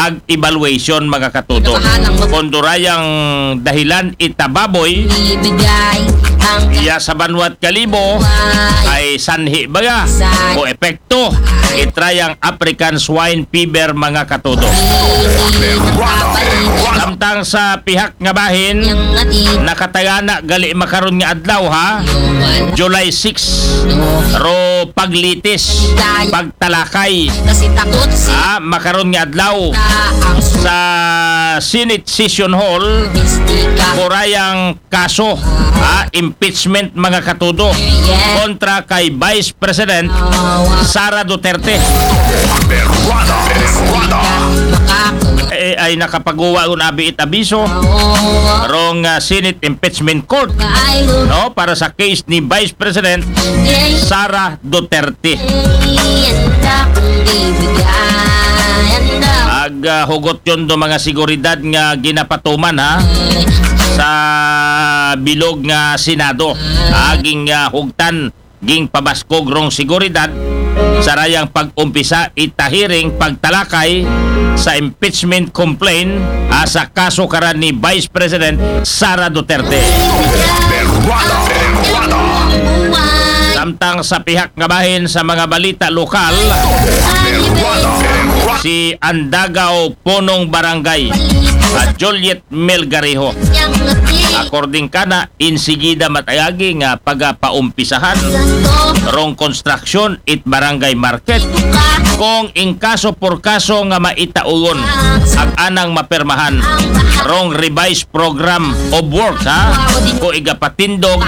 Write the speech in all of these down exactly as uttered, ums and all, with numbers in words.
ag evaluation, mga katudo. Kondurayang dahilan itababoy, iya sa banwa't Kalibo ay sanhi baga o epekto itrayang African Swine Fever, mga katudo. Samtang sa pihak nga bahin, nakatagana gali makaron nga adlaw, ha, July six, ro paglitis, pagtalakay, ha, makaron nga adlaw sa Senate Session Hall, kurayang kaso, ha, impeachment, mga katudo, kontra kay Vice President Sara Duterte. Eh, ay nakapaguwa un abi it abiso rong, ah, Senate Impeachment Court, no, para sa case ni Vice President Sara Duterte. Ag, ah, hugot yon do mga seguridad nga ginapatuman, ha, sa bilog nga Senado. Aging, ah, hugtan, ging pabaskog rong seguridad sa rayang pag-umpisa ita hearing pagtalakay sa impeachment complaint, ah, sa kaso karan ni Vice President Sara Duterte. Samtang sa pihak nga bahin sa mga balita lokal, si Andagaw Punong Barangay, ah, Juliet Melgarejo. According kana, insigida matayagi nga pagapaumpisahan rong construction it barangay market. Kung in kaso por kaso nga maitauyon ag anang mapermahan rong revised program of work, ha, ko igapatindog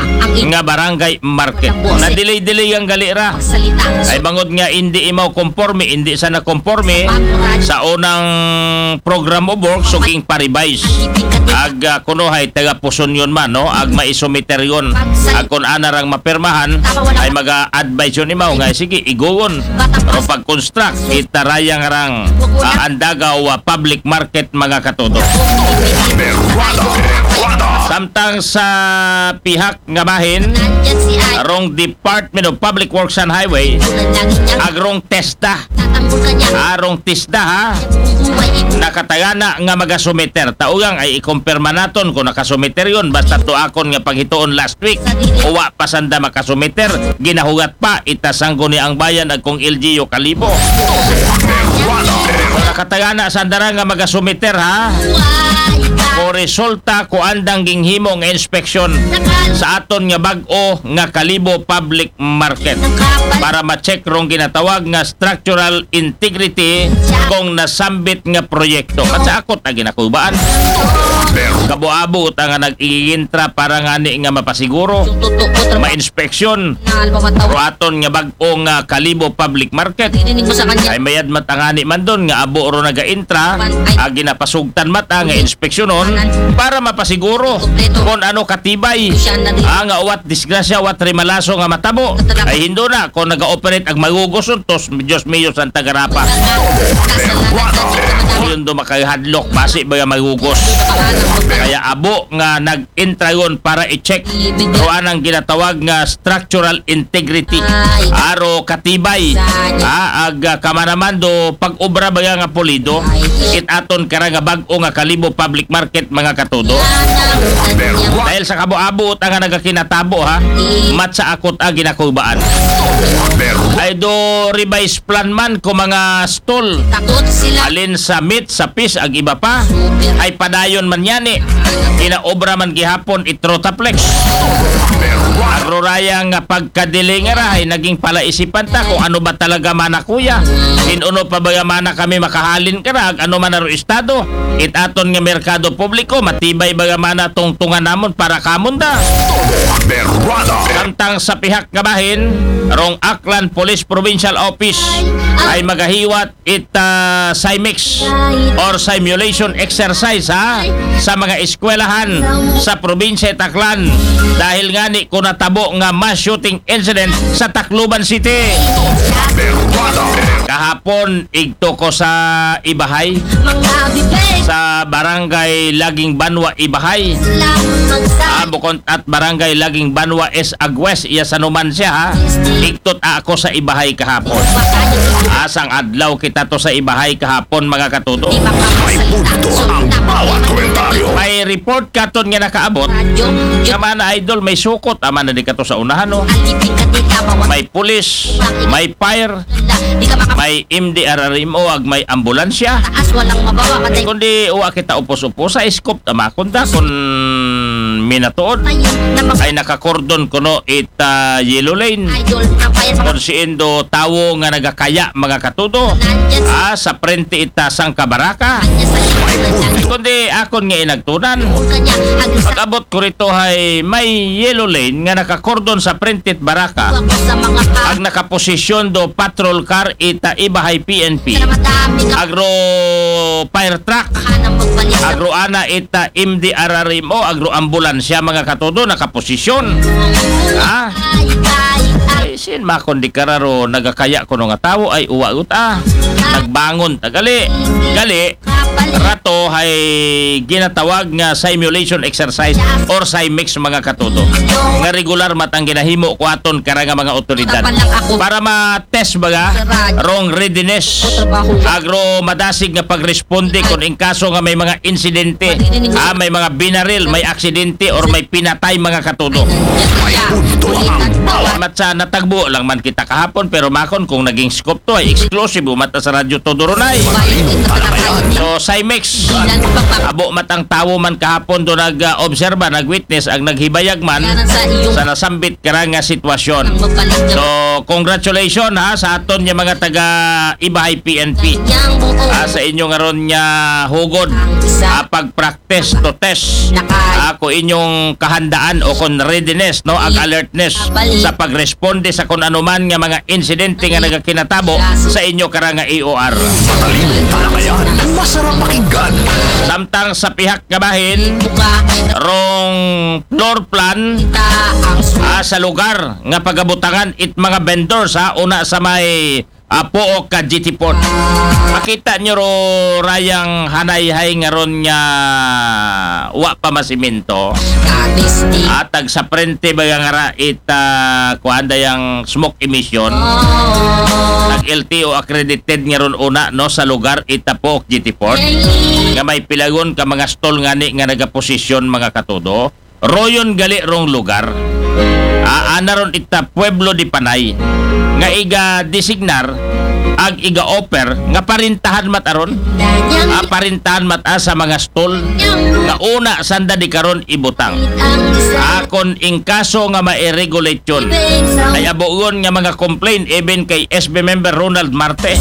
nga barangay market. Na-delay-delay ang gali ra. Ay bangod nga indi imaw konporme, indi sa nakonporme sa unang program of work, so ging pa-revise. Ag, ah, kuno hay taga puson yon man, no? Ag maisumiter yon. Ag kun ana rang mapermahan, ay maga-advise yon imaw nga, sige, iguwon. Pero pag-construct, itarayang rang, ah, Andagaw, ah, public market, mga katudo. Samtang sa pihak nga bahin, rong Department of Public Works and Highway, ag rong TESDA. Arong TESDA, ha? Nakatagana nga magasumiter. Taugang ay ikumpirma naton kung nakasumiter yon. Basta to akon nga panghituon last week, wa pa sanda makasumiter. Ginahugat pa ita Sangguniang Bayan ag kong L G U Kalibo. Nakatagana sanda ra nga magasumiter, ha? Ko resulta ko andang ginghimo nga inspeksyon sa aton nga bag-o nga Kalibo Public Market para ma-check rong ginatawag nga structural integrity kung nasambit nga proyekto. At sa akot na ginakubaan, kabo-abo ta nga nag-iintra para ngani nga mapasiguro, ma-inspeksyon, ro aton nga bag-o nga Kalibo Public Market. Ay mayad matangani man don nga abo ro naga-intra, ag ginapasugtan mata nga inspeksyonon para mapasiguro kung ano katibay, ah, nga uwat disgrasya, uwat rimalaso nga matabo. Ay hindo na kung naga-operate ag magugos untos, Diyos mio, Santa Garapa. Yun do makahadlok, basi ba nga magugos? Kaya abo nga nag-intrayon para i-check ro anang ginatawag nga structural integrity. Aro katibay. Ah, ag, ah, kamanaman do pag-obra ba nga pulido. It aton kara nga bag-o nga Kalibo Public Market, mga katudo. Dahil sa kabo-abo ta nga nagakinatabo, ha, mat sa akot a ginakubaan. Ay do revise plan man ko mga stall. Alin sa meat, sa fish, ag iba pa. Ay padayon man yani. Ginaobra man gihapon it Rotaplex. Ag ro raya nga pagkadiling ra ay naging palaisipan ta kung ano ba talaga mana kuya. Hin-o pa ba nga mana kami makahalin kara ag ano man aro estado. It aton nga merkado publiko, matibay ba nga mana tungtungan namon para kamon da. Samtang sa pihak nga bahin, rong Aklan Police Provincial Office ay magahiwat it, ah, SIMEX or simulation exercise, ha, sa mga eskwelahan sa probinsya it Aklan dahil ngani ko natabo nga mass shooting incident sa Tacloban City. Kahapon, igto ko sa Ibahay, sa barangay Laging Banwa, Ibahay. Ah, bukon at barangay Laging Banwa is Agwes, iya sa numan siya, ha. Igtot ako sa Ibahay kahapon. Asang adlaw kita to sa ibahay kahapon, mga katudo. May punto ang bawat komentaryo. May report katon nga nakaabot. Nga man, idol, may sukot, ama na di kato sa unahan, no? May pulis, may fire, may M D R R M O, ag may ambulansya. Kundi uwa kita upos-upos sa scoop, tama kung da, kung minatuod. Ay nakakordon kuno it ah, yellow lane. Kung siendo tawo nga nagakaya, mga katudo, ah, sa prente ita sang kabaraka. Kundi akon nga inagtunan. Pag-abot ko rito hay may yellow lane nga nakakordon sa prente it baraka. Ag nakaposisyon do patrol car ita iba hay P N P. Agro fire truck. Agro ana ita M D R R M O, agro ambulansya, mga katudo, nakaposisyon. Ha? Ay, sin makon di kararo nagakaya kuno nga tawo ay uwa ut, ah. Nagbangon ta gali. Gali, rato hay ginatawag nga simulation exercise or Simex, mga katudo. Nga regular mat ang ginahimo ko aton kara nga mga otoridad. Para ma-test baga rong readiness. Agro madasig nga pagresponde kung in kaso nga may mga insidente, ah, may mga binaril, may aksidente, or may pinatay, mga katudo. Mat sa natagbo lang man kita kahapon, pero makon kung naging scoop to ay exclusive, umata sa Radyo Todo Runay. So, Simex, abo mat ang tawo man kahapon do nag-obserba, nag-witness, ag naghibayag man sa nasambit kara nga sitwasyon. So, congratulations, ha, sa aton nga mga taga Ibahay P N P. Ah, sa inyo nga ron nga hugod, ah, pag-practice to test. Ah, kung inyong kahandaan o kung readiness, no, ag alertness sa pagresponde sa kung anuman nga mga insidente nga nagakinatabo sa inyo kara nga E O R. Matalino talaga yan. Masarap pakinggan. Samtang sa pihak nga bahin, rong floor plan, ah, sa lugar nga pagabutangan it mga vendors, ha, una sa may, ah, Pook ka G T Port. Makita nyo ro rayang hanayhay nga ron nga wa pa masiminto. At ag sa prente baga nga ra it, ah, kuan dayang smoke emission. Nag L T O accredited nga ron una, no, sa lugar ita Pook G T Port. Nga may pilagon ka mga stall ngani nga nagaposisyon, mga katudo. Royon gali rong lugar. Ah, ana ron ita Pueblo de Panay. Nga iga designar, ag iga offer, nga parintahan mat aron. Ah, parintahan mat a sa mga stall. Nga una sanda di karon ibutang. Akon in kaso nga ma-regulate yun. Ay abuon nga mga complaint even kay S B member Ronald Marte.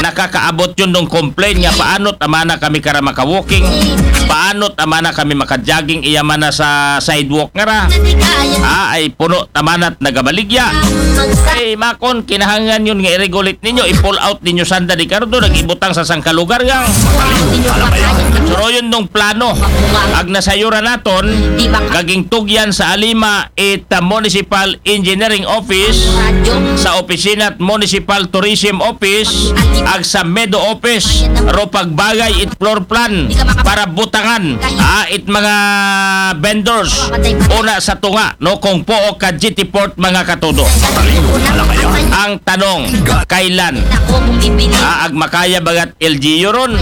Nakakaabot yun ng complaint nga paano tama na kami kara maka-walking, paano tama na kami maka-jogging, iya man na sa sidewalk nga ra. Ah, ay puno tama na't nagabaligya. Ay makon, kinahangan yun nga i-regulate ninyo, i-pull out ninyo sanda di kardo, nag-ibutang sa sangka lugar yang. Suroyon nung plano. Ag nasayuran naton, gaging tugyan sa alima it, ah, Municipal Engineering Office, sa opisina at Municipal Tourism Office, ag sa Medo Office, ro pagbagay it floor plan para butangan, ah, it mga vendors. Una sa tunga, no, kung Pook ka G T Port, mga katudo. Ang tanong, kailan? Ah, ag makaya bagat L G U ron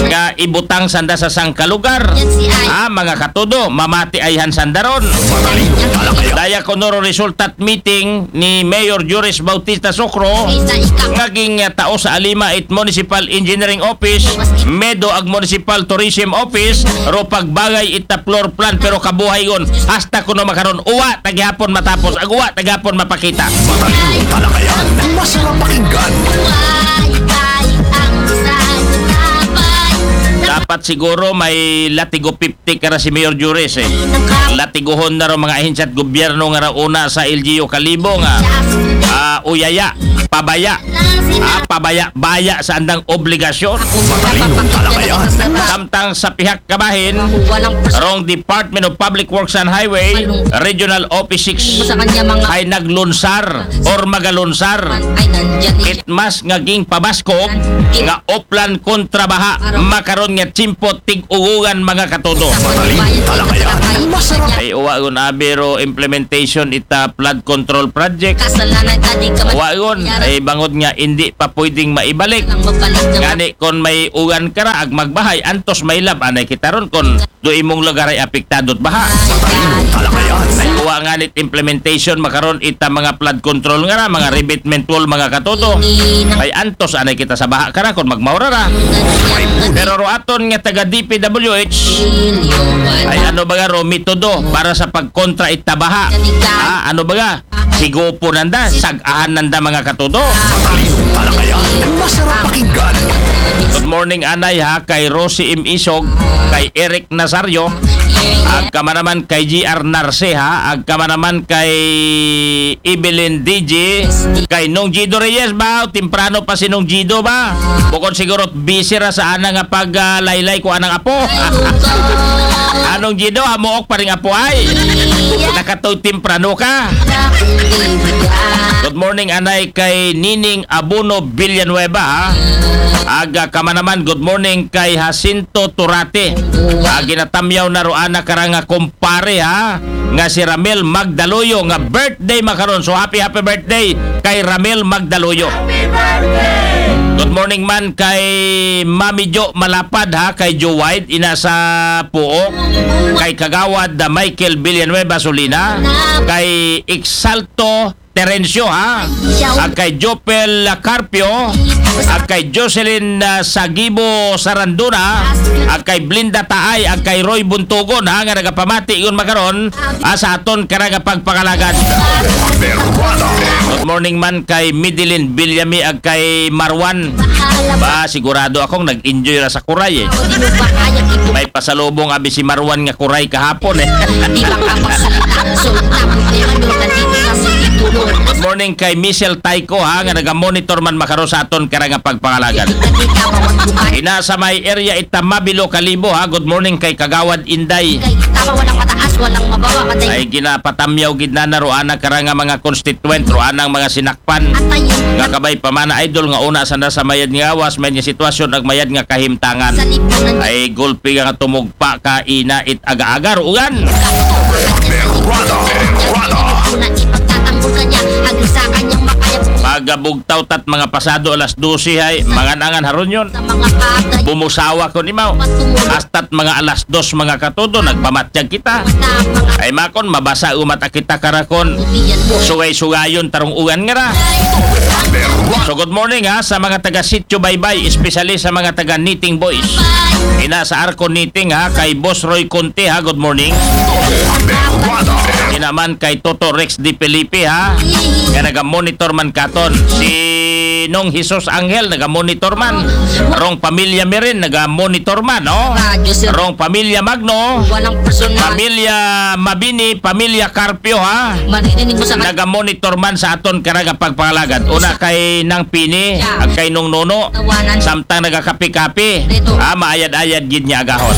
nga ibutang sanda sa sangka lugar. Ah, mga katudo, mamati ayhan sanda ron. Daya ko noro resultat meeting ni Mayor Juris Bautista Socro, nga ging, ah, tao sa alima it Municipal Engineering Office, Medo ag Municipal Tourism Office, ro pagbagay ita floor plan, pero kabuhay gon, hasta kuno makaron, uwa ta gihapon matapos, ag uwa ta gihapon mapakita. Matalino talaga yan. Masarap pakinggan. Dapat siguro may latigo fifty kara si Mayor Juris, eh. Latiguhon na ro mga ahensya at gobyerno nga ra una sa L G U Kalibo nga, ah, uyaya, pabaya. Ah, pabaya-baya sa andang obligasyon. Matalino talaga yan. Samtang sa pihak kabahin, rong Department of Public Works and Highway, Regional Office six, ay naglunsar or magalunsar. It mas nga ging pabaskog nga oplan kontra baha, makaron nga tsimpo tig-ugugan, mga katudo. Matalino talaga yan. Masarap. Ay uwa gun abiro implementation ita flood control project. Wa ron, ay bangod nga indi pa pwedeng maibalik. Ngani kon may uwan ka ra ag magbahay, antos may lab, anay kita ron kon do imong lugar ay apektado it baha. Wa nganit implementation makaron ita mga flood control nga ra, mga revetment wall, mga katudo. Ay antos anay kita sa baha ka ra kon magmaura ra. Pero ro aton nga taga D P W H, ay ano ba nga ro metodo para sa pagkontra ita baha? Ah, ano ba nga? Higupon nanda, sag-ahan nanda, mga katudo. Matalino talakayan, masarap pakinggan. Good morning, anay, ha, kay Rosie M. Isog, kay Eric Nazario, ag kama naman kay G R Narce, ha, ag kama naman kay Evelyn D J, kay Nong Gido Reyes ba? Temprano pa si Nong Gido ba? Bukod siguro busy ra sa ana nga pag, ah, laylay ko anang apo. Anong Gido, amuok pa ring apo ay. Nakatoy temprano ka. Good morning, anay, kay Nining Abono Villanueva, ha. Aga ka man naman, good morning kay Jacinto Turate. Ah, ginatamyaw na ro ana ka ra nga kumpare, ha, nga si Ramel Magdaluyo nga birthday makaron. So happy, happy birthday kay Ramel Magdaluyo. Good morning man kay Mami Jo Malapad, ha, kay Joe White, ina sa Puok, kay Kagawad, ah, Michael Villanueva Solina, kay Exalto Terencio, ha, ag kay Jopel Carpio, ag kay Jocelyn, ah, Sagibo Sarandona, ag kay Blinda Taay, ag kay Roy Buntugon, ha, nga nagapamati gon makaron, ah, sa aton ka ra nga pagpangalagad. Good morning man kay Midilin Villami ag kay Marwan. Ba, sigurado akong nag-enjoy ra sa kuray, eh. May pasalubong abi si Marwan nga kuray kahapon, eh. Good morning kay Michelle Taiko, ha, nga naga-monitor man makaron sa aton ka ra nga pagpangalagad. Ina sa may area ita Mabilo Kalibo, ha. Good morning kay Kagawad Inday. Ay ginapatamyaw gid na na ro ana ka ra nga mga constituent, ro anang mga sinakpan. Nga kabay pa man, idol, nga una sanda sa mayad nga gawas, mayad nga sitwasyon, ag mayad nga kahimtangan. Ay gulpi nga tumugpa ka, ina, it aga-aga ro ugan. Pagabugtaw tat mga pasado alas dose hay, mangan-angan haron yon. Bumusawa ko nimaw. Hasta't mga alas dos, mga katudo, nagpamatyag kita. Ay makon, mabasa umat a kita ka ra kon sugay-sugayon ta rong ugan nga ra. So good morning, ha, sa mga taga Sitio Baybay, especially sa mga taga Knitting Boys. Ina sa Arco Knitting, ha, kay Boss Roy Conte, ha, good morning. Ina man kay Toto Rex Di Felipe, ha, nga naga-monitor man katon. Si Nong Jesus Angel naga-monitor man. Rong Pamilya Mirin naga-monitor man, no? Rong Pamilya Magno, Pamilya Mabini, Pamilya Carpio, ha? Naga-monitor man sa aton ka ra nga pagpangalagad. Una kay Nang Pini, ag kay Nong Nono, samtang nagakapi-kapi. Ha, maayad-ayad gid nga agahon.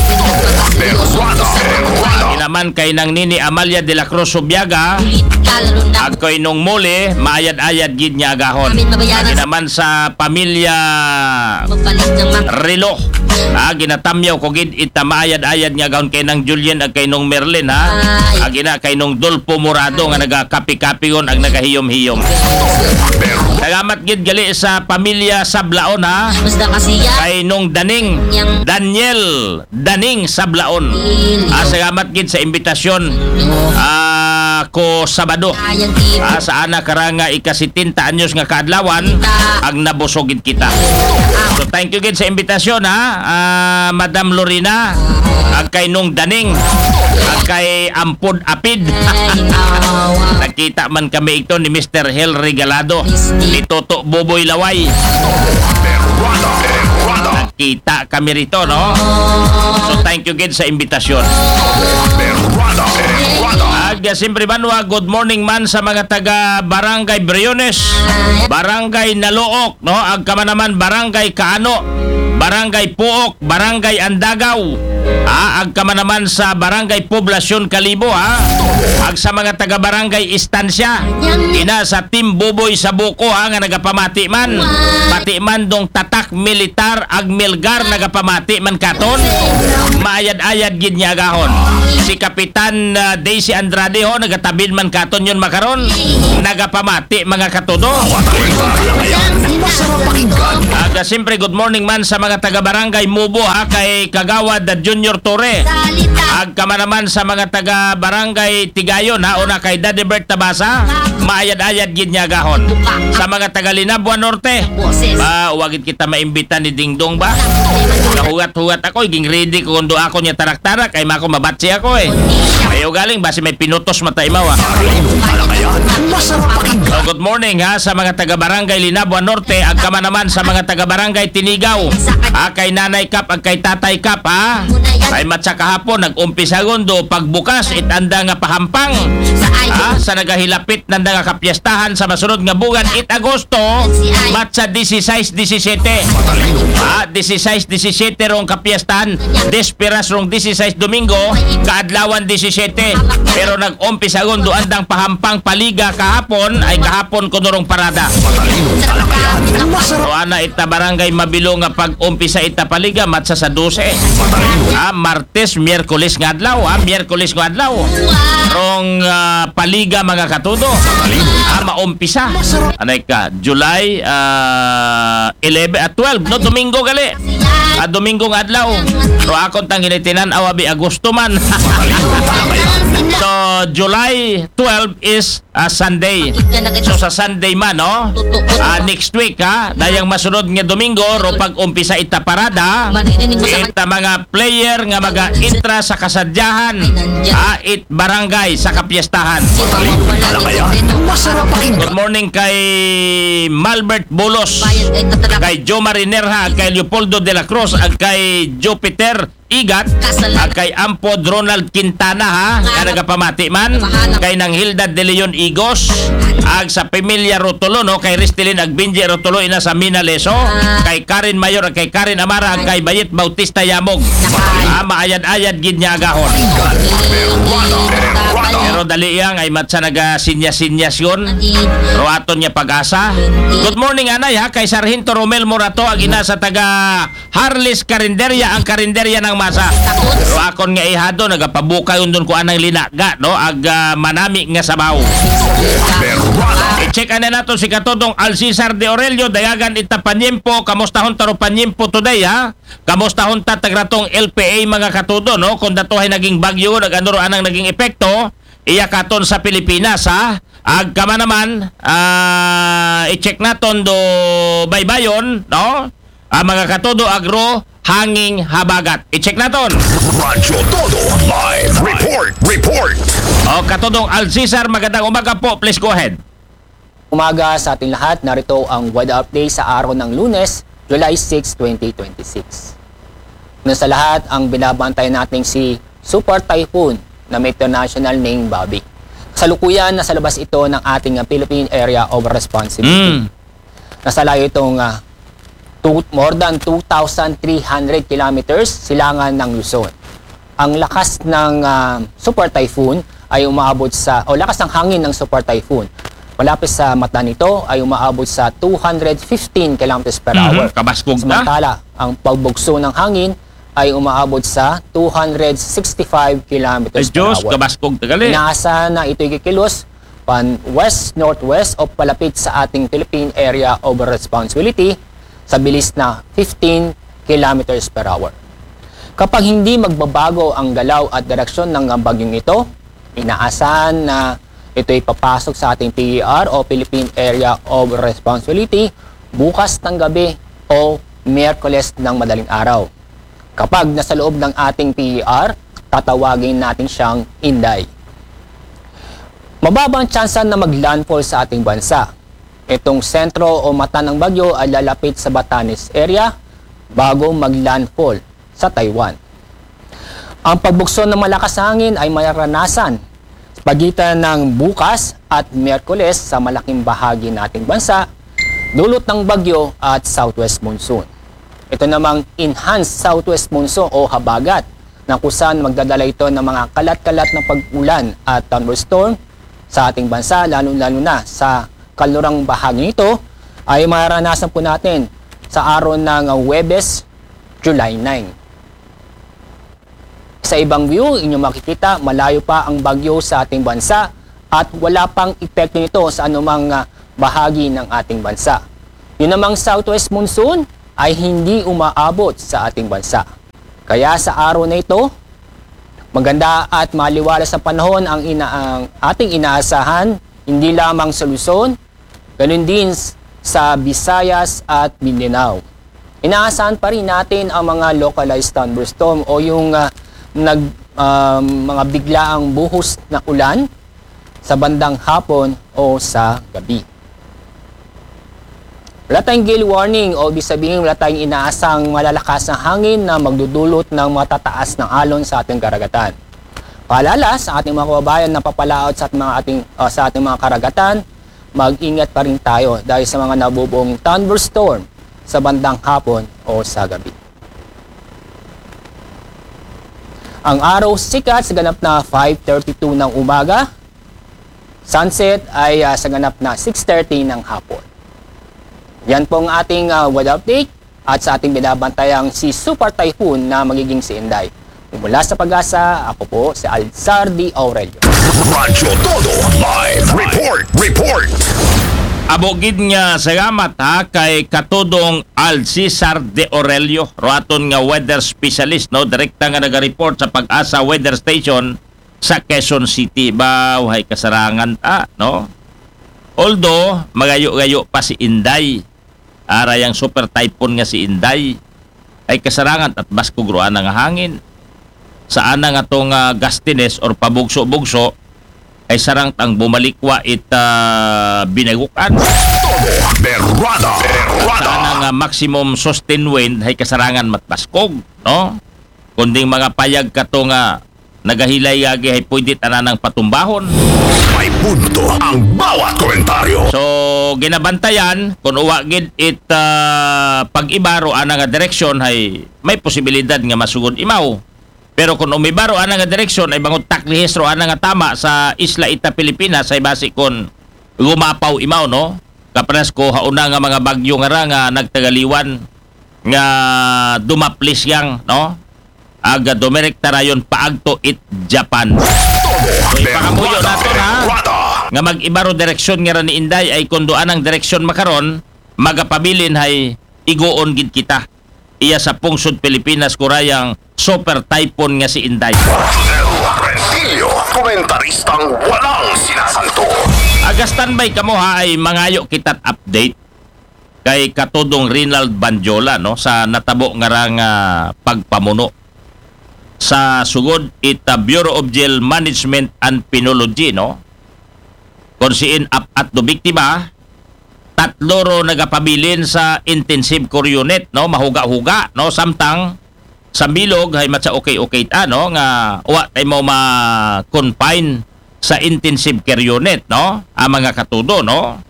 Ina man kay Nang Nini Amalia de la Cruz Subiaga, ag kay Nong Mole, maayad-ayad gid nga agahon. Ina man sa pamilya Relo, ha, ginatamyaw ko gid ita maayad-ayad nga agahon kay Nang Julien ag kay Nong Merlin, ha. Ag ina kay Nong Dolpo Morado nga nagakapi-kapi gon ag nagahiyom-hiyom. Salamat gid gali sa pamilya Sablaon, ha. Kay Nong Daning, Daniel Daning Sablaon. Ah, salamat gid sa imbitasyon. Ah, ko Sabado. Ah, sa ana ka ra nga ika-setenta anyos nga kaadlawan, ag nabusog gid kita. So thank you gid sa imbitasyon, ha. Ah, Madam Lorena, ag kay Nong Daning, ag kay Ampod Apid. Nagkita man kami ito ni Mister Hel Regalado, ni Toto Boboy Laway. Nagkita kami rito, no? So thank you gid sa imbitasyon. Ag siyempre, banwa, good morning man sa mga taga Barangay Briones, Barangay Nalook, no? Ag kama naman Barangay Kaano. Barangay Puok, Barangay Andagaw. Ha, agka man naman sa Barangay Poblacion Kalibo, ha. Ag sa mga taga Barangay Estancia, ina sa Team Buboy sa Buko, ha, nga nagapamati man. Pati man dong Tatak, Militar, ag Milgar nagapamati man katon. Maayad-ayad gid nga agahon. Si Kapitan, ah, Daisy Andrade ho, nagatabid man katon yun makaron. Nagapamati, mga katudo. Masarap pakinggan. Aga, siyempre, good morning man sa mga taga Barangay Mubo, ha, kay Kagawad, ah, Junior Torre. Agka man naman sa mga taga Barangay Tigayon, ha, una kay Daddy Bert Tabasa. Maayad-ayad gid nga agahon. Sa mga taga Linabua Norte, ba, wagid kita maimbita ni Dingdong ba? Nahugat-hugat ako, iging ready ko kundo ako niya tarak-tarak, ay mako mabatsi ako eh. Ayaw galing, basi may pinutos mata imaw, ah. Masarap pakinggan. So, good morning, ha, sa mga taga Barangay Linabua Norte, agka man naman sa mga taga Barangay Tinigaw. Ha, kay Nanay Kap, ag kay Tatay Kap, ha? Ay matsa kahapon, nag-umpisa gundo, pagbukas, it anda nga pahampang. Ha, sa nagahilapit nanda nga kapiestahan sa masunod nga bugan, it Agosto, matsa dieciséis, diecisiete. Ha, dieciséis, diecisiete rong kapiestahan, desperas rong dieciséis Domingo, kaadlawan diecisiete. Pero nag-umpisa gundo andang pahampang paliga kahapon, ay kahapon kuno rong parada. So, ana ita Barangay Mabilo nga pag-umpisa ita paliga, matsa sa dose. Ah, Martes, Miyerkules nga adlaw, ah, Miyerkules nga adlaw. Rong, ah, paliga, mga katudo. Ah, maumpisa. Anay ka, July, ah, eleven at twelve, no? Domingo gali. Ah, Domingo nga adlaw. Pero akon tang ginitinan-aw abi Agosto man. So, July twelve is, ah, Sunday. So, sa Sunday man, no? Ah, next week, ha? Dayang masunod nga Domingo, ro pag-umpisa ita parada, ita mga player nga maga-intra sa kasadyahan, ha? It barangay sa kapiestahan. Masarap pakinggan. Good morning kay Malbert Bulos, kay Joe Marinerha, kay Leopoldo de la Cruz, ag kay Jupiter Igat, ag kay Ampod Ronald Quintana, ha, nga nagapamati man, kay Nang Hilda de Leon Igos, ag sa pamilya Rotolo, no, kay Ristilin ag Benji Rotolo, ina sa Mina Leso, kay Karen Mayor, ag kay Karen Amara, ag kay Bayet Bautista Yamog. Ah, maayad-ayad gid nga agahon. Pero dali yang ay matsa nagasinyas-sinyas yun. Pero aton nga pag-asa. Good morning, anay, ha, kay Sargento Romel Morato, ag ina sa taga Harley's Karinderya, ang karinderya ng masa. Pero akon nga ihado, nagapabukay undon ko anang linaga, no? Ag, ah, manami nga sabaw. I-check ana nato si Katodong Alcesar de Aurelio, dayagan ita panyempo, kamustahon taro panyempo today, ha? Kamustahon ta tagratong L P A, mga katudo, no? Kung datohay naging bagyo, nag-ano ro anang naging epekto, iya katon sa Pilipinas, ha? Agka man naman, ah, i-check naton do baybayon, no? Ah, mga katudo, agro, hanging habagat. I-check naton. Radyo Todo Live Report. Report. O, Katodong Alcesar, magandang umaga po. Please go ahead. Umaga sa ating lahat, narito ang weather update sa araw ng Lunes, July six, twenty twenty-six. Una sa lahat, ang binabantayan nating si Super Typhoon na may international name Bobby. Kasalukuyan, nasa labas ito ng ating Philippine Area of Responsibility. Mm. Nasa layo itong ah, two, more than two thousand three hundred kilometers silangan ng Luzon. Ang lakas ng ah, Super Typhoon ay umaabot sa, o lakas ng hangin ng Super Typhoon malapit sa mata nito ay umaabot sa two hundred fifteen kilometers per hour. Mhm, kabaskog na. Samantala, ang pagbugso ng hangin ay umaabot sa two hundred sixty-five kilometers Ay, Diyos, per hour. Kabaskog tagali. Inaasahan na ito'y kikilos pan west-northwest o palapit sa ating Philippine Area of Responsibility sa bilis na fifteen kilometers per hour. Kapag hindi magbabago ang galaw at direksyon ng bagyong ito, inaasahan na ito'y papasok sa ating P E R o Philippine Area of Responsibility bukas ng gabi o Miyerkules ng madaling araw. Kapag nasa loob ng ating P E R, tatawagin natin siyang Inday. Mababang tsansa na mag-landfall sa ating bansa. Itong sentro o mata ng bagyo ay lalapit sa Batanes area bago mag-landfall sa Taiwan. Ang pagbugso ng malakas na hangin ay mararanasan sa pagitan ng bukas at Miyerkules sa malaking bahagi ng ating bansa, dulot ng bagyo at southwest monsoon. ito namang enhanced southwest monsoon o habagat, na kung saan magdadala ito ng mga kalat-kalat na pag-ulan at thunderstorm sa ating bansa, lalo-lalo na sa kalurang bahagi nito, ay maranasan po natin sa araw ng Huwebes, July nine. Sa ibang view, inyong makikita, malayo pa ang bagyo sa ating bansa at wala pang epekto nito sa anumang ah, bahagi ng ating bansa. Yun namang southwest monsoon ay hindi umaabot sa ating bansa. Kaya sa araw na ito, maganda at maliwalas na panahon ang, ina ang ating inaasahan, hindi lamang sa Luzon, ganun din s- sa Visayas at Mindanao. Inaasahan pa rin natin ang mga localized thunderstorm o yung ah, nag, ah, mga biglaang buhos na ulan sa bandang hapon o sa gabi. Wala tayong gale warning o ibig sabihin wala tayong inaasang malalakas na hangin na magdudulot ng matataas na alon sa ating karagatan. Paalala sa ating mga kababayan na papalaot sa ating mga, ating, ah, sa ating mga karagatan, mag-ingat pa rin tayo dahil sa mga nabubuong thunderstorm sa bandang hapon o sa gabi. Ang araw sikat sa ganap na five thirty-two ng umaga, sunset ay ah, sa ganap na six thirty ng hapon. Yan po ang ating ah, weather update at sa ating binabantayang si Super Typhoon na magiging si Inday. Mula sa Pag-asa, ako po si Alzar D. Aurelio. Radyo Todo Live Report. Report. Amo gid nga salamat ha kay Katudong Alcisar De Orelio, ro aton nga weather specialist, no, direkta nga naga-report sa Pag-asa Weather Station sa Quezon City. Ba, hay kasarangan ta, no? Although magayo-gayo pa si Inday, ara yang super typhoon nga si Inday, ay kasarangan at baskog ro ana nga hangin. Sa ana nga tong ah, gustiness or pabugso-bugso, ay sarang tang bumalikwa it ah, binagukan. Todo Berrada. Berrada. Sa ana nga maximum sustained wind ay kasarangan matbaskog, no? Kunding mga payag kato nga nagahilay agi ay pwede tanan ang patumbahon. May punto ang bawat komentaryo. So, ginabantayan, kung uwa gid it ah, pag-iba ro ana nga direksyon ay may posibilidad nga masugod imaw. Pero kung umiba ro ana nga direksyon ay bangod taklihis ro ana nga tama sa isla ita Pilipinas ay basi kung gumapaw imaw, no? Kapanas ko hauna nga mga bagyo nga ra nga nagtagaliwan nga dumaplis yang, no? Aga dumirekta rayon paagto it Japan. Todo Ipakapuyo Berrada. nato na Berrada. nga mag-iba ro direksyon nga ra ni Inday ay kung duan ang direksyon makaron, magapabilin hay igoon gid kita. Iya sa pungsod Pilipinas kurayang super typhoon nga si Inday. Rodel Rentillo, komentaristang walang sinasanto. Aga standby kamo ha ay mangayo kita't update kay Katudong Rinald Banjola, no, sa natabo nga ra nga pagpamuno sa sugod it ah, Bureau of Jail Management and Penology, no, kung siin apat do biktima, tatlo ro nagapabilin sa intensive care unit, no, mahuga-huga, no, samtang sa bilog hay matsa okay-okay ta, no, nga wa tay mo ma-confine sa intensive care unit, no, ang mga Katudo, no.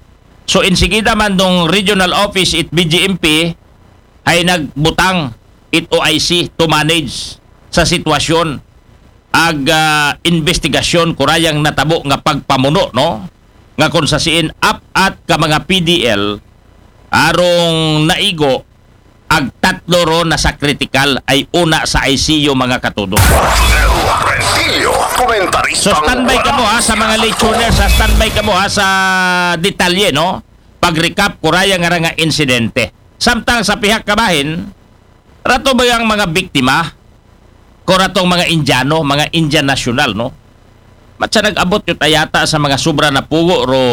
So insigida man dong regional office it B J M P ay nagbutang it O I C to manage sa sitwasyon ag ah, investigasyon kurayang natabo nga pagpamuno, no, nga kung sa siin apat ka mga P D L arong naigo ag tatlo ro na sa critical ay una sa I C U, mga Katudo. Rodel Rentillo, komentaristang So standby kamo ha sa mga late tuners, ha, standby kamo ha sa detalye, no, pag-recap kuraya nga ra nga insidente. Samtang sa pihak kabahin, rato ba yang mga biktima ko ratong mga Indiano, mga Indian national, no? Matsa nag-abot yung tayata sa mga sobra na pugo ro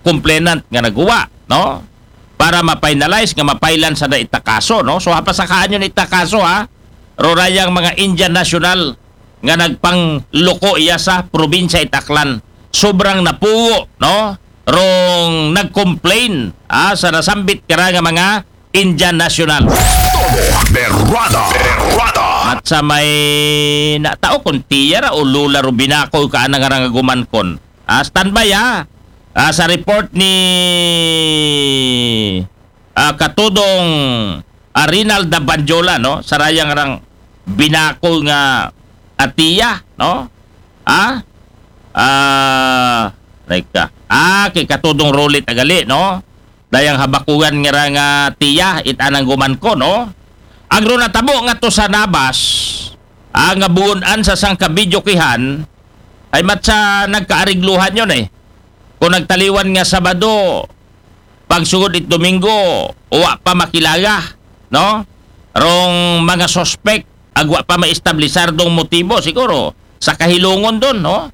complainant nga naguwa, no? Para ma-finalize nga mapailan sa da ita kaso, no? So hapasakaan yun ita kaso, ha? Ro rayang mga Indian national nga nagpangloko iya sa probinsya it Aklan. Sobrang napugo, no? Rong nag-complain, ha, sa nasambit kara nga mga Indian national. Todo Berrada. Berrada. At sa may natao kung tiyara o lula ro binako ka ana nga rangaguman kon. Ah, standby ha. Ah, sa report ni ah, Katudong ah, Rinalda Banjola, no? Sarayang rang binakol nga atiya, no? Ah? Ah, like, ah, ah, kay Katodong Rolit Agali, no? Dayang habakugan nga ra nga tiya, it anang guman ko, no? Agro natabo nga to sa Nabas, ah, nga buon-an sa sangka bidyokihan, ay matsa nagkaarigluhan yon eh. Kung nagtaliwan nga Sabado, pagsugod it Domingo, wa pa makilala, no? Rong mga suspect, agwa pa maestablisar dong motibo, siguro, sa kahilungon don, no?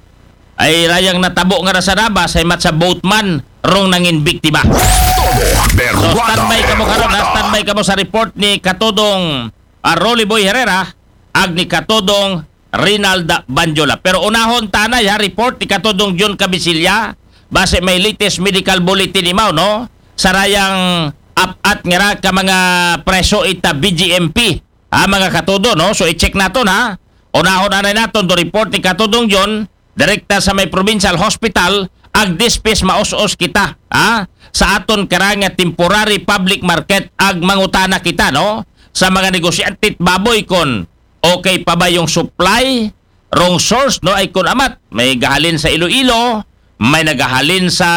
Ay rayang natabo nga ra sa Nabas, ay matsa boatman, rong nangin biktima. So, standby kamo karon, ha? Standby kamo sa report ni Katodong, ah, Rolly Boy Herrera, ag ni Katodong Rinalda Banjola. Pero unahon tanay ha, report ni Katodong John Cabisilla, base may latest medical bulletin imaw, no? Sarayang apat nga ra ka mga preso ita B G M P, ha, mga katodo, no? So, i-check naton, ha? Unahon anay naton do report ni Katodong John, direkta sa may provincial hospital, ag dispis maus-os kita, ha? Sa aton karang nga temporary public market, ag mangutana kita, no? Sa mga negosyante it baboy kon okay pa ba yung supply, rong source, no? Ay kun amat, may gahalin sa Iloilo, may nagahalin sa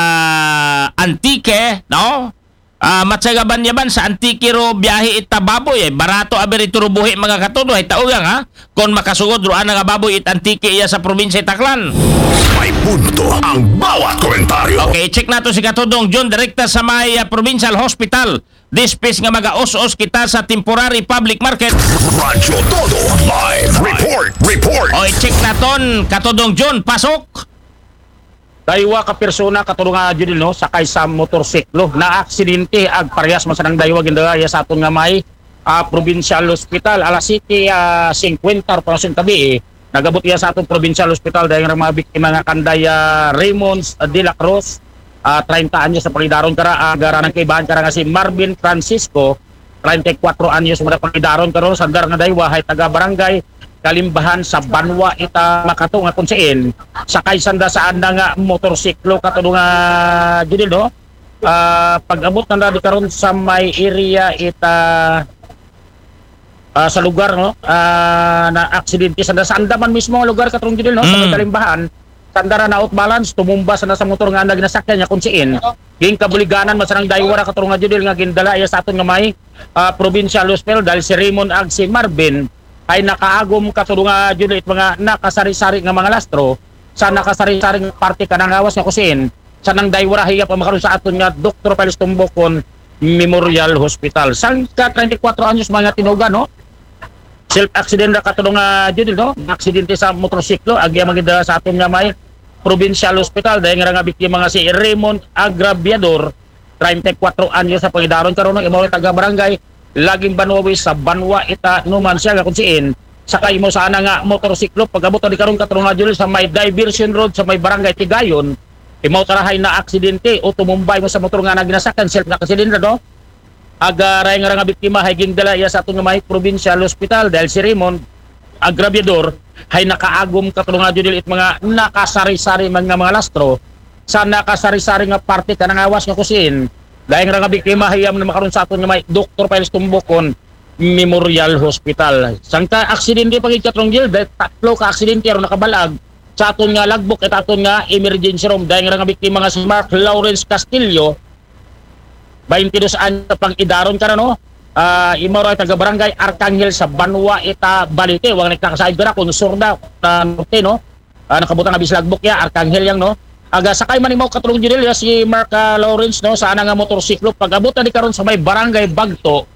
Antique, no? Ah, matsa gabanyaban sa Antique ro biyahe ita baboy, ay barato abi rito ro buhi, mga katodo, ay taugang, ha? Kon makasugod ro ana nga baboy it Antique iya sa probinsya it Aklan. May punto ang bawat komentaryo. Okay, check nato si Katodong John direkta sa may, ah, provincial hospital. Dispis nga magaus-os kita sa temporary public market. Radyo Todo Live Report. Report. O, i-check naton, Katodong John, pasok. Daywa ka persona, Katodong, ah, Judil, no, sakay sa motorsiklo, naaksidente ag parehas man sanang daywa gindala iya sa aton nga may, ah, provincial hospital. Alas siyete, ah, singkwenta ro pa sa tabi, eh. Nagabot iya sa aton provincial hospital dahil nga mga biktima nga kanday, ah, Raymond, ah, de la Cruz, ah, treinta anyos na pangidaron kara, ah, gara ng kaibahan kara nga si Marvin Francisco, treinta y cuatro anyos na pangidaron karon, sandar nga daywa hay taga barangay Kalimbahan sa Banwa ita Makato nga kunsiin sakay sanda sa anda nga motorsiklo, Katodong, ah, Judil, no? Ah, pag-abot na di karon sa may area ita, ah, sa lugar, no? Ah, na aksidente sanda sa anda man mismo nga lugar, Katodong Judil, no? Sa may Mm. Kalimbahan, sanda ra na-out balance, tumumba sanda sa motor nga anda ginasakyan niya kunsiin. Ginkabuliganan man sanang daywa ra, Katodong, ah, Judil, nga gindala iya sa aton nga may, ah, provincial hospital dahil si Raymond ag si Marvin ay nakaagom, Katodong, ah, Judil, it mga nakasari-sari nga mga lastro sa nakasari-sari nga parte kanang lawas nga kusin sa nang daywa ra hiya pa makaron sa aton nga Doktor Pius Tumbukon Memorial Hospital. Sangka treinta y cuatro anyos mga tinugan, no? Self accident ra, Katodong, ah, Judil, no? Aksidente sa motorsiklo, agi ang magdala sa aton nga may provincial hospital dahil nga nga biktima nga si Raymond Agraviador, treinta y cuatro anyos sa pangidaron karon, no? Imaw taga barangay Laging Banwawi sa Banwa ita Numancia nga kunsiin sakay mo sana nga motorsiklo. Pag-abot na di karon, Katodong, ah, Judil, sa may diversion road sa may barangay Tigayon, imaw tarahay na aksidente o tumumbay mo sa motor nga naginasakan, self na aksidente, no? Aga ray nga nga biktima hay gindala iya sa aton nga may provincial hospital dahil si Raymond Agraviador hay nakaagom, Katodong, ah, Judil, it mga nakasari-sari man nga mga lastro sa nakasari-sari nga parte kanang lawas nga kusin. Dahil nga nga biktima hay iya man makaron sa aton nga may Doktor Pius Tumbukon Memorial Hospital. Sangka aksidente pa gid, Katodong Judil, dahil tatlo ka aksidente aron nakabalag sa aton nga logbook, it aton nga emergency room. Dahil nga nga biktima nga si Mark Lawrence Castillo, twenty-two anyos sa pangidaron kara, no? Ah, imaw ra taga barangay Arcangel sa Banwa ita Balite. Wang nagkakasayod kara kung sur da, ah, norte, no? Ah, nakabutang abi sa logbook ya, Arcangel yang, no? Aga sakay man imaw, Katodong Judil, ya si Mark, ah, Lawrence, no, sa ana nga motorsiklo. Pag-abot na di karon sa may barangay Bagto,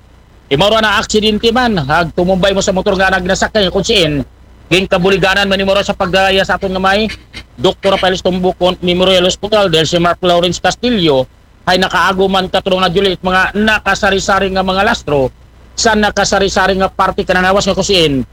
imaw ra na aksidente man, ag tumumbay mo sa motor nga nagnasak kay kunsiin. Ginkabuliganan man imaw ra sa pag-aya sa aton nga may Doktor Rafael Tumbukon Memorial Hospital dahil si Mark Lawrence Castillo ay nakaagom man, Katodong, ah, Judil, it mga nakasari-sari nga mga lastro sa nakasari-sari nga parte kanang lawas nga kusin.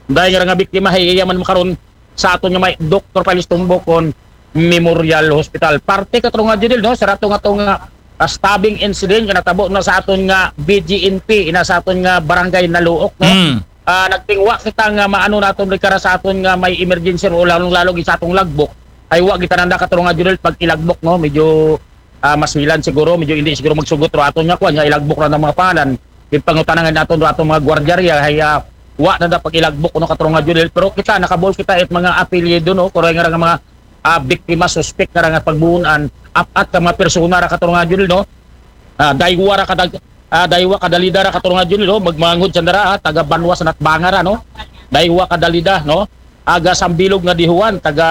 Dahil nga nga biktima hay iya man makaron sa aton nga may Doktor Pius Tumbukon Memorial Hospital. Parte, Katodong, ah, Judil, no, sa rato nga to nga, ah, stabbing incident nga natabo na sa aton nga B G M P, ina sa aton nga barangay Naluok, no? Mm. Ah, nagtingwa kita nga maano naton di kara sa aton nga may emergency room, lalong-lalo gid sa atong logbook. Ay wa gid tanan da, Katodong, ah, Judil, pag i-logbook, no, medyo, ah, masilan siguro, medyo hindi siguro magsugot ro aton nga kuan nga i-logbook ra ng mga pangalan. Ipangutana nga naton do aton mga gwardiya riya, hay, ah, wa na da pag-ilagbok, no, katarunga Judel. Pero kita, nakabuol kita it mga apelyido, no, kuray nga ra nga mga, ah, biktima, suspek nga ra nga pagbuunan, apat ka mga persona ra, katarunga Judel, no. Ah, daywa ra kadag-, ah, daywa kadalida ra, katarunga Judel, no, magmangod sanda ra, ah, taga banwa sa Natbanga ra, no. Daywa kadalida, no. Aga Sambilog nga Dihuan, taga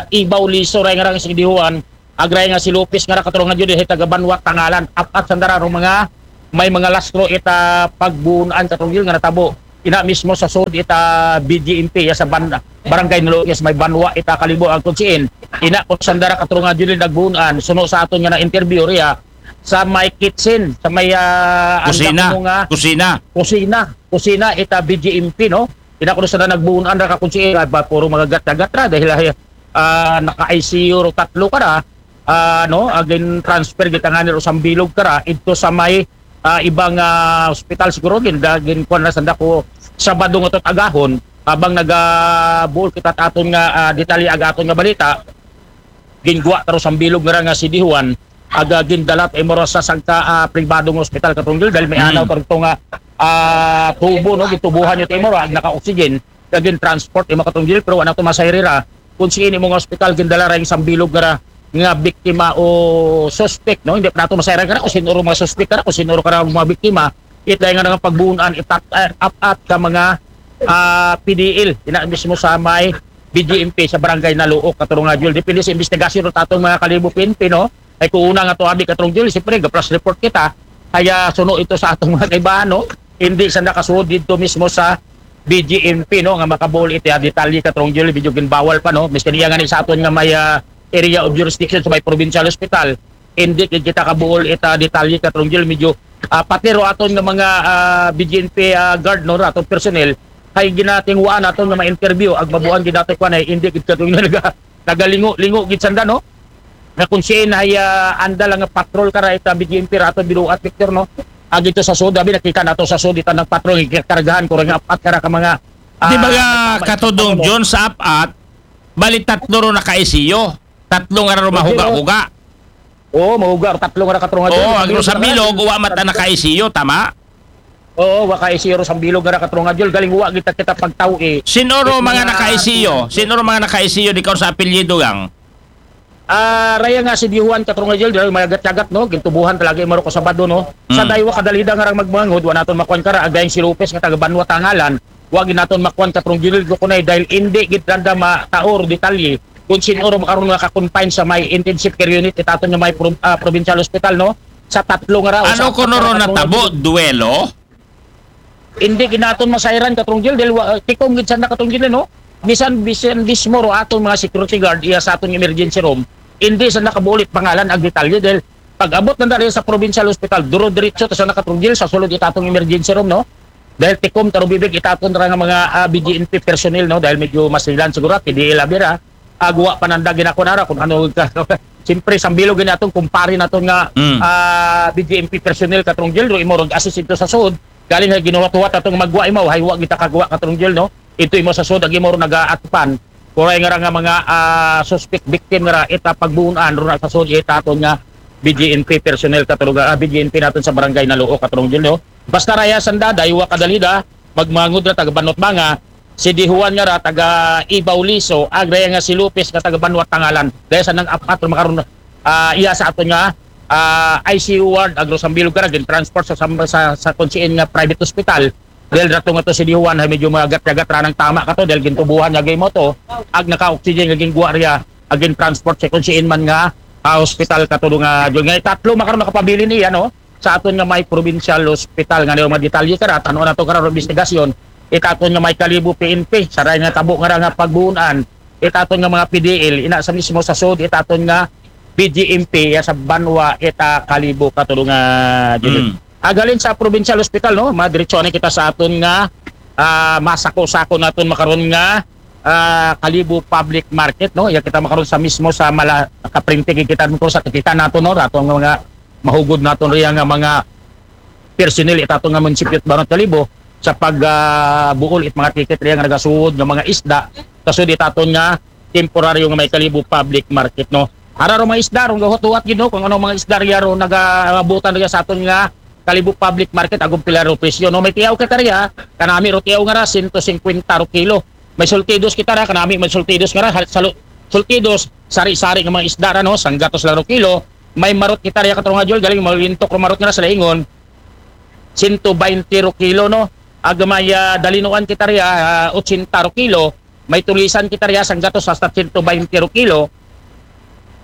Ibaw Liso ra nga ra nga si Dihuan, agray nga si Lopez nga ra, katarunga Judel, taga banwa Tangalan. Apat sanda ra ro mga may mga lastro ita pagbuunan, katarunga Judel, nga natabo ina mismo sa sud ita B J M P ya sa ban-, barangay Naluok, ya sa may banwa ita Kalibo, ang kunsiin ina ko sanda ra, katarunga Judel, nagbuunan, suno sa aton nga na-interview riya sa may kitchen, sa may, ah, anda Kusina. Kuno nga Kusina. Kusina, kusina ita B J M P, no? Ina ko sanda nagbuunan ra, kakunsiin, ah, ba, puro mga gat-gat ra dahil, ah, naka-I C U ro tatlo ka ra, ah, no, agin transfer gid tangani ro Sambilog ka ra idto sa may, ah, ibang, ah, hospital siguro gin, da-, gin kuan na sanda ko Sabado nga to agahon, habang nagabuol kita aton nga, ah, detalye ag aton nga balita, gingwa ta ro Sambilog nga ra nga si Dihuan, aga gindala ta imo ra sa sangka, ah, pribadong hospital, katarunga Judel, dahil may Hmm. anaw ta rito nga, ah, tubo, no, gitubuhan niyo ta imo ra, ag naka-oxygen, kag gin-transport imo, katarunga Judel, pero wala to masayri ra kung saan imo nga hospital gindala ra ing Sambilog nga ra nga biktima o suspect, no? Hindi pa nato masayran ka ra kung sino ro mga suspect ka ra, kung sino ro ka ra mga biktima. Ita nga nga pagbuunan, itat-, eh, apat ka mga, ah, P D L, ina mismo sa may B J M P sa barangay Naluok, katarunga Judel. Depende sa investigasyon ro tatong mga Kalibo P N P, no? Ay kung una nga to abi, katarunga Judel, siyempre, ga-flash report kita. Kaya suno ito sa atong mga kaibahan, no? Hindi sa nakasuod dito mismo sa B J M P, no, nga makabuol iti, ah, detalye, katarunga Judel, medyo ginbawal pa, no? Miski niya nga ni sa aton nga may, ah, area of jurisdiction sa may provincial hospital, hindi gid kita kabuol ita detalye, katarunga Judel, medyo, ah, pati ro aton nga mga, ah, B J M P, ah, guard, no, aton personnel, kay ginatingwaan naton nga ma-interview, ag mabuan gid nato kuan ay hindi gid, katarunga Judel, naga-, nagalingo-lingo gid sanda, no? Nga kung siya na, ah, anda lang nga patrol ka ra ita B J M P ra aton binuat, Victor, no? Agi to sa sud, abi nakita nato sa sud, ita nang patrol, kargahan ko ra nga apat ka ra ka mga, Di ba ah, nga, tama, Katodong tama, John, sa apat, bali tatlo ro naka-I C U. Tatlo nga ra ro mahuga-huga. Oo, mahuga, tatlo nga ra, katarunga Judel. Oo, ang Sambilog, wa man ta naka-I C U, tama? Oo, wa ka-I C U ro Sambilog nga ra, katarunga Judel. Galing wa kita, kita pagtaw-i. Sino ro mga naka-I C U? Sino ro mga naka-I C U, di ka sa apelyido, gang? Ah, raya nga si Dihuan, katarunga Judel, dahil mayagat-yagat, no? Gintubuhan talaga imo ro ko Sabado, no? Sa daywa kadalida nga rang magmangod, wa naton makuan ka ra, agayng si Lopez nga taga Banwa Tangalan, wa gid naton makuan, katarunga Judel, ko kunay, dahil hindi gid randa mataor detalye kung sino ro makaron nga ka-confine sa may intensive care unit, itaton nga may pro-, ah, provincial hospital, no? Sa tatlo nga ra, o sa apat nga ra, katarunga Judel. Ano kuno ro natabo? Duelo? Hindi gid naton masayran, katarunga Judel, dahil wa-, tikom gid sanda, katarunga Judel, no? Bisan, bisan mismo ro aton mga security guard iya sa aton emergency room, hindi sanda kabuol it pangalan ag detalye, dahil pag-abot nanda riya sa provincial hospital, duro diretso ta sanda, katarunga Judel, sa sulod itaton emergency room, no? Dahil tikom ta ro bibig itaton ra nga mga, ah, B J M P personnel, no? Dahil medyo masilan siguro, P D L abi ra. Ag wa pa nanda ginakuan ra kung ano ka. Siyempre, Sambilog gid naton, kumpare naton nga, Mm. ah, B J M P personnel, katarunga Judel, ro imo rog assist ito sa sud. Galing hay ginuwat-huwat atong magwa imo, hay wa kita kagwa, katarunga Judel, no? Ito imo sa sud, ag imo ro nagaatpan. Kuray nga ra nga mga, ah, suspect victim nga ra, ita pagbuunan ro na sa sud, ita aton nga B J M P personnel, katarunga, ah, B J M P naton sa barangay Naluok, katarunga Judel, no? Basta raya sanda, daywa kadalida, magmangod ra taga Banwa Tangalan, si Dihuan nga ra taga Ibaw Liso, ag raya nga si Lopez nga taga Banwa Tangalan. Dahil sa nang apat ro makaron, ah, iya sa aton nga, ah, I C U ward, ag ro Sambilog ka ra, gin-transport sa, sa, sa, sa kung saan nga private hospital. Dahil rato nga to si Dihuan, hay medyo mayagat-yagat ra nang tama kato, dahil gintubuhan nga gimo to, ag naka-oxygen nga gingwa riya, ag gin-transport sa kung saan man nga, ah, hospital, katarunga Judel. Nga tatlo makaron nakapabilin iya, no? Sa aton nga may provincial hospital, nga may mga detalye ka ra, tan-aw nato ka ra ro investigasyon, itaton nga may Kalibo P N P, sa raya nga tabo nga ra nga pagbuunan, itaton nga mga P D L, ina sa mismo sa sud, itaton nga B J M P, iya sa banwa, ita Kalibo, katarunga Judel. Mm. Agalin sa provincial hospital, no? Madiretso na kita sa aton nga, ah, masako-sako naton makaron nga, ah, Kalibo Public Market, no? Iya kita makaron sa mismo sa mala-, kaprente gid kita ko sa kita nato, no? Rato nga mga mahugod naton riya nga mga personnel itato nga munisipyo ta Banwa Kalibo sa pag, ah, buol it mga ticket riya nga nagasuod nga mga isda, kasud itaton nga temporaryo nga may Kalibo Public Market, no? Ara ro mga isda ro gahuwat-huwat gid, no, kung ano mga isda riya ro nagaabutan riya sa aton nga, Kalibo Public Market, agom pila ro presyo, no? May tiyaw kita riya, kanami ro tiyaw nga ra, sento singkwenta ro kilo. May sultidos kita ra, kanami may sultidos nga ra, hal-, salu-, sultidos, sari-sari nga mga isda ra, no? Sanggatos lang ro kilo. May marot kita riya, katurong Jul, galing malintok ro marot nga ra sa laingon, sento baynte ro kilo, no? Ag may, ah, dalinuan kita riya, ah, otsenta ro kilo. May tulisan kita riya, sanggatos hasta sento baynte ro kilo.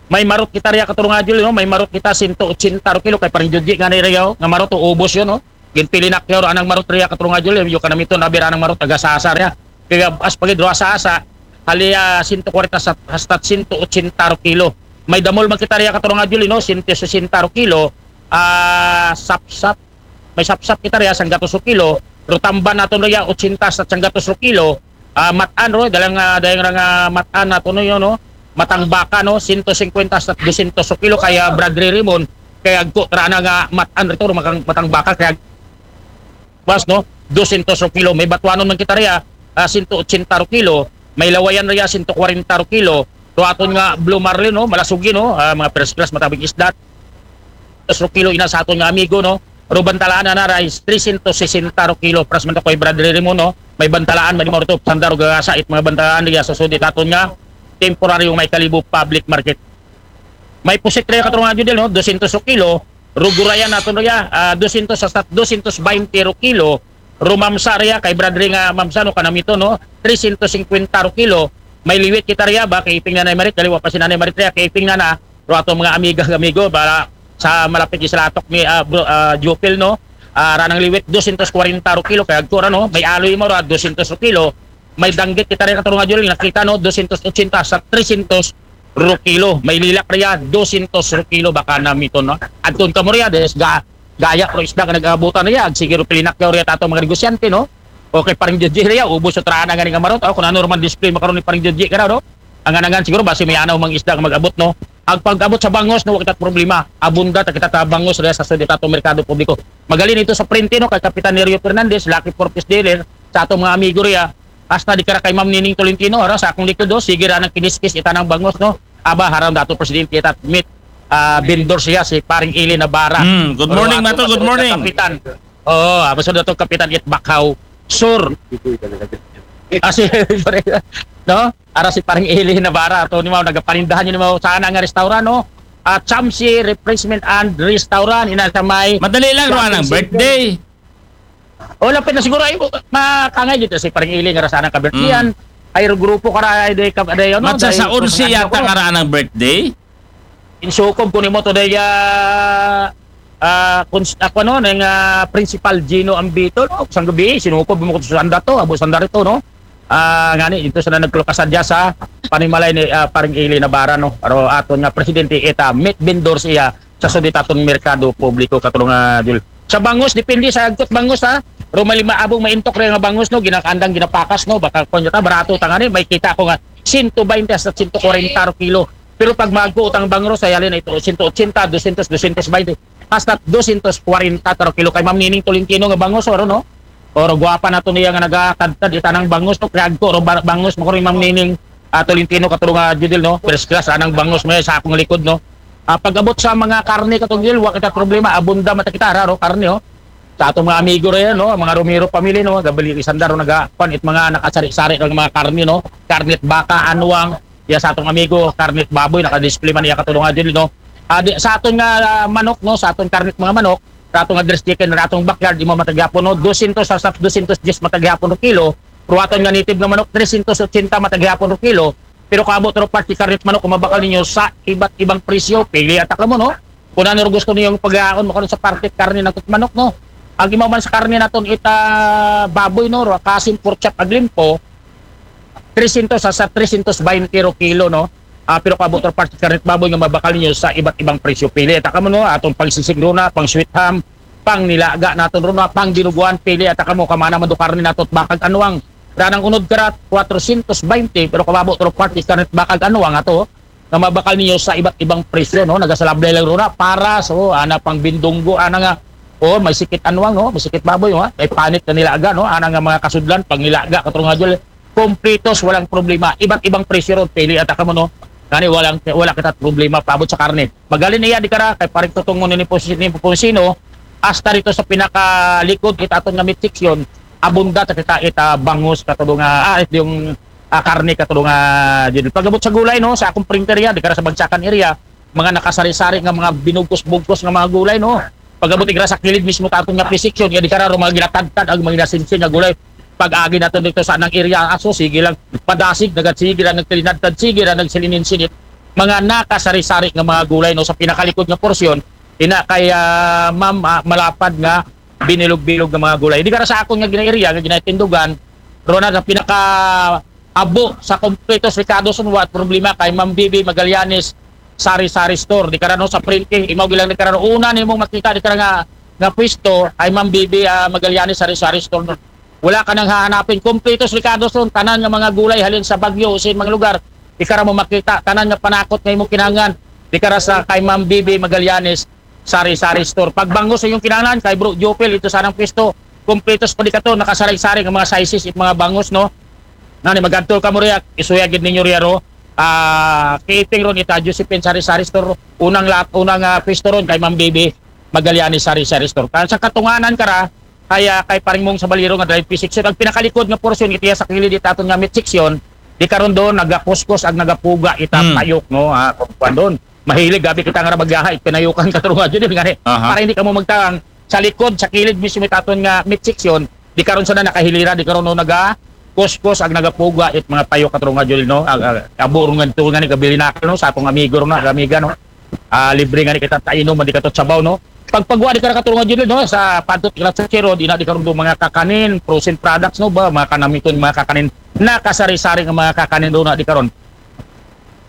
May marot kita riya, katurong Jul, no? May marot kita, sento otsenta ro kilo. Kay parang Judji nga ni riya, oh, nga marot, oh, ubos yun, no? Ginpilinakyaw ro anang marot riya, katurong Jul, yung kanamiton, abi ra anang marot, taga Sasa riya. Kaya as pagid ro Sasa, hali, ah, sento kwarenta sa, hasta sento otsenta ro kilo. May damol man kita riya, katurong Jul, no? Sento sesenta ro kilo, ah, sapsap. May sapsap kita riya, sanggatos ro kilo. Ro tamban naton riya, otsenta sa sanggatos ro kilo. Ah, matan ro, dalang, ah, dalang ra nga matan naton, no, yun, no? Matang baka, no? Sento singkwenta sa dosyentos ro kilo, kaya Brad Ray Raymond, kaya agko tara na nga matan rito, ro, makang, matang baka, kaya bas, no? Dosyentos ro kilo. May batuanon man kita riya, ah, sento otsenta ro kilo. May lawayan riya, sento kwarenta ro kilo. Ro aton nga blue marlin, no? Malasugi, no? Ah, mga first class, matabig isda. Ro kilo ina sa aton nga amigo, no? Ro bantalaan na na rice, tresyentos sesenta ro kilo. Pras man to kay Brad Ray Raymond, no? May bantalaan man mo ro to, sandar o gagasa, it mga bantalaan riya sa sudi taton nga temporaryo may Kalibo Public Market. May pusit riya, katurong Judel, no? Dosyentos ro kilo. Ro gurayan naton riya, ah, dosyentos hasta dosyentos baynte ro kilo. Ro mamsa riya, kay Brad Ray nga mamsa, no, kanamiton, no? Tresyentos singkwenta ro kilo. May liwit kita riya, ba, kay iping Nanay Marit, dali wa pa si Nanay Marit riya, kay iping na na, ro aton mga amiga, amigo, ba, sa malapit sa latok ni, ah, bro, ah, Jupil, no? Ah, ra nang liwit, dosyentos kwarenta ro kilo, kay agko ra, no? May aloy mo ra, dosyentos ro kilo. May danggit kita riya, katurong Jul, nakita, no? Dosyentos otsenta sa tresyentos ro kilo. May lilak riya, dosyentos ro kilo, baka namiton, no? Adton kamo riya, des ga-, gaya ro isda nga nag-aabutan riya, ag sige ro pilinakyaw riya tato mga negosyante, no? Okay, parang Judji riya, ubos sa trana nga ni nga marot, oh, kung ano ro man display makaron ni parang Judji ka na, no? Angan-angan siguro, basi may anaw mang isda nga mag-abot, no? Ag pag-abot sa bangos, no, wa kita problema. Abunda ta kita ta bangos riya sa sudi tato merkado publiko. Magali nito sa prente, no, kay Kapitan Nerio Fernandez, Lucky Four Piece Dealer, sa atong mga amigo riya, hasta di kara kay Ma'am Nining Tolentino, ara, sa akong likod, oh, sige ra nang kiniskis, ita nang bangos, no? Aba, harang dato presidente, ita, meat, ah, vendor siya, si Paring Eli Navarra. Mm, good morning, Mato. Good morning. Kapitan. Oo, aba, so dato Kapitan It Bakhaw. Sur. Ah, si, no? Ara si Paring Eli Navarra, ato ni Mao, nagapanindahan yun ni Mao, sana nga restaurant, no? Ah, Chamsi Refreshment and Restaurant, ina sa may Madali lang, ro anang birthday. O, lapit na siguro, ay, makangay dito si Paring Eli, nga ra sana ka-birthday yan. Ay, grupo ka ra, ay, day, ka, day, ano, Matsa day, sa onse kung yata ano, nga ra anang birthday. Insukob ko nimo to, day, ah, ah, kuns-, ako, no, ng, ah, Principal Gino Ambito, no? Sang gabi, sinukob mo ko sa sanda to, abo sanda rito, no? Ah, ngani, ito sa na nagkulukasan dya sa panimalay ni, ah, Paring Eli Navarra, no? Pero aton nga presidente, ita, meat vendor siya sa sudi taton merkado publiko, katurong, ah, Jul. Sa bangos, depende sa agkot bangos, ha? Pero may lima abong maintok rin nga bangos, no? Ginakandang, ginapakas, no? Baka kung ta, barato ta nga ni, may kita ko nga sento baynte hasta sento kwarenta ro kilo. Pero pag magko utang bangros, ay halin ito, sento otsenta, dosyentos, dosyentos baynte, hasta dosyentos kwarenta ta ro kilo. Kay Ma'am Nining Tolentino nga bangos, oro, no? Oro, gwapa nato niya nga nagakadkad, ita nang bangos, no? Kaya agko, oro, ba-, bangos, mo ko rin Ma'am Nining, ah, Tolentino, katurong, ah, Judel, no? First class, anang bangos mo sa akong likod, no? Ah, pag-abot sa mga karne, katurong Judel, wa kita problema, abunda mata kita, raro, karne, oh. Sa atong mga amigo rin, no? Mga Romero family, no? Gabali, isandaro, naga, kwan, it mga nakasari-sari ng mga karne, no? Karne at baka, anwang, ya sa atong amigo, karne at baboy, naka-display man iya, katurong, ah, Judel, no? Ah, di, sa aton nga, ah, manok, no? Sa aton karne at mga manok, sa aton nga dress chicken, sa atong backyard, imo matagyapon, no? Dosyentos sa, sa dosyentos diyes matagyapon ro kilo, pero aton nga native nga manok, tresyentos otsenta matagyapon ro kilo, pero kaabot ro parte karne at manok, kung mabakal ninyo sa iba't ibang presyo, pili ata kamo, no? Kung ano ro gusto ninyong pagkaon, makaroon sa parte karne ng manok, no? Ang imaman sa karne naton ita baboy, no? Ro, kasim, pork chop, ag limpo, tresyentos sa, sa tresyentos baynte ro kilo, no? Ah, pero kaabot ro parte karne at baboy nga mabakal ninyo sa iba't ibang presyo. Pili ata kamo, no? Atong pang sisig runa, pang sweet ham, pang nilaga naton runa, pang dinuguan, pili ata kamo, kamana man do karne nato at bakag anwang. Ranang unod karat, kwatrosyentos baynte, pero kababo to parte karne at bakag anwang ato, nga mabakal ninyo sa iba't ibang presyo, no? Nagasalablay lang runa, paras, oh, ana pang bindunggo, ana nga, oh, may sikit anwang, no? May sikit baboy, ha? May panit na nilaga, no? Ana nga mga kasudlan, pang nilaga, katurong, ah, Jul, kompletos, walang problema. Iba't ibang presyo ron, pili ata kamo, no? Ngani, walang, wala kita problema paabot sa karne. Magali niya, di kara, kay Paring Tutong mo ni Pons-, ni Ponsino, hasta dito sa pinakalikod it aton nga meat section, abunda ta kita it, ah, bangus katulo nga, ah, it yung, ah, karne katulo nga, Jun. Pag-abot sa gulay, no, sa akong printer yan, di ka sa bagsakan area, mga nakasari-sari nga mga binugkos-bugkos nga mga gulay, no. Pag-abot igra sa kilid mismo ta aton nga fish section, ya di ka ro mga ginatadtad ang mga ginasinsin nga gulay. Pag-agi naton dito sa anang area, aso, sige lang, padasig, nagad sige lang, nagtilinadtad, sige lang, nagsilininsinit. Mga nakasari-sari nga mga gulay, no, sa pinakalikod nga porsyon, ina kay, ah, ma'am, ah, malapad nga binilog-bilog nga mga gulay. Di ka ra sa akon nga gina-area, nga ginatindugan, ro na sa pinaka abo sa kompletos rekados, wa problema kay Ma'am Bibi Magallanes Sari-Sari Store. Di ka ra, no, sa Prinque, imaw gilang di ka ra, no, una nimong makita di ka ra nga, nga pwesto ay Ma'am Bibi, ah, Magallanes Sari-Sari Store, no. Wala ka nang hahanapin. Kompletos rekados ron, tanan nga mga gulay halin sa Baguio, usin mga lugar. Di ka ra mo makita, tanan nga panakot nga imong kinahanglan. Di ka ra sa kay Ma'am Bibi Magallanes Sari-Sari Store. Pag bangus sa inyong kinahanglan, kay Bro Jopel, ito sanang pwesto. Kompletos pa di ka to, nakasari-sari nga mga sizes, it mga bangus, no? Nani, magadto ka mo riya, isuya gid ninyo riya ro. Ah, kiting ron ita Josephine Sari-Sari Store. Unang lat, unang, ah, pwesto ron kay Ma'am Bibi Magallanes Sari-Sari Store. Kan sa katunganan ka ra, kaya kay Paring Mong sa Baliro nga drive P six, ang pinakalikod nga porsyon, itiya sa kilid it aton nga meat section, di karon doon nagakuskos ag nagapuga ita Hmm. payok, no? Ah, kung kuwan doon. Mahilig gabi kita nga ra magyahay, pinayukan ka nga Judel nga, eh. Aha. Para hindi ka mo magtang sa likod, sa kilid mismo it aton nga meat section, di karon sa na nakahilira, di karon no naga kuskos ag nagapuga it mga payok ka nga Judel, no? Ag, ag, abo ron nga ito nga ni kabilin na, no, sa atong amigo ron, ag amiga, no? Ah, libre nga ni kita tainom, di ka to sabaw, no? Pagpagwa di ka ra ka nga Judel, no? Sa padtot ka sa Chiro, di na di karon do mga kakanin, frozen products, no ba? Mga kanamiton, mga kakanin, nakasari-sari nga mga kakanin do na di karon.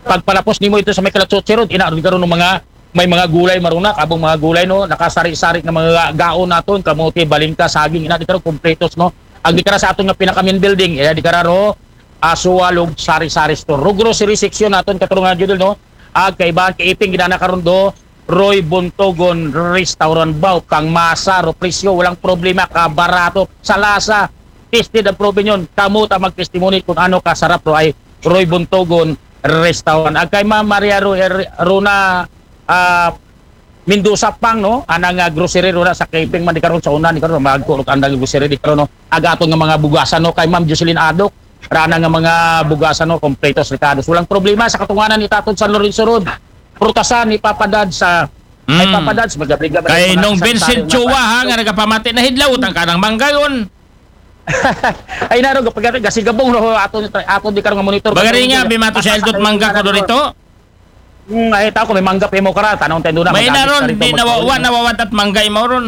Pagpalapos nimo ito sa may Kalatsotsi Road, ina ron karon ng mga, may mga gulay marunak, abong mga gulay, no, nakasari-sari nga mga gaon naton, kamote, balingka, saging, ina di karon kompletos, no. Ang di kara sa aton nga pinaka main building, ina di kara ro, Asualog Sari-Sari Store. Ro grocery section naton katurungan Judel, no. Ag kaibahan kay iping ginana karon do, Roy Buntogon Restaurant, baw kang masa ro presyo, walang problema, kabarato, sa lasa, tested ang proven yun. Kamo ta mag-testimony kung ano kasarap ro ay Roy Buntogon Restaurant. Ag kay Ma'am Maria Ru-, Er-, Runa, ah, Mendoza pang, no? Anang, ah, grocery runa sa Kiping man di karon sa una, di karon magkulok andang grocery di karon, no? Ag aton nga mga bugasan, no? Kay Ma'am Jocelyn Adok, rana nga mga bugasan, no? Kompletos, rekados. Walang problema sa katunganan ni Taton San Lorenzo Road. Prutasan ni Papa Dad sa ay Mm. Papa Dads, magabriga ba Kay yung mga nung kasari-sari Vincent mga Chua, pa- ha, nga nagapamati na hidlaw, utang ka ng manggayon. Ay, naro, pag gasigabong no, ato, ato di karong monitor. Bagari nga, bimato siya, Eldot, mangga ko dorito. Hmm, ay, tao ko, may mangga pa mo kara, tanong tayo na. May Magkakit naron, ka rito, di magkakit. nawawa, nawawatat mangga imaw ron.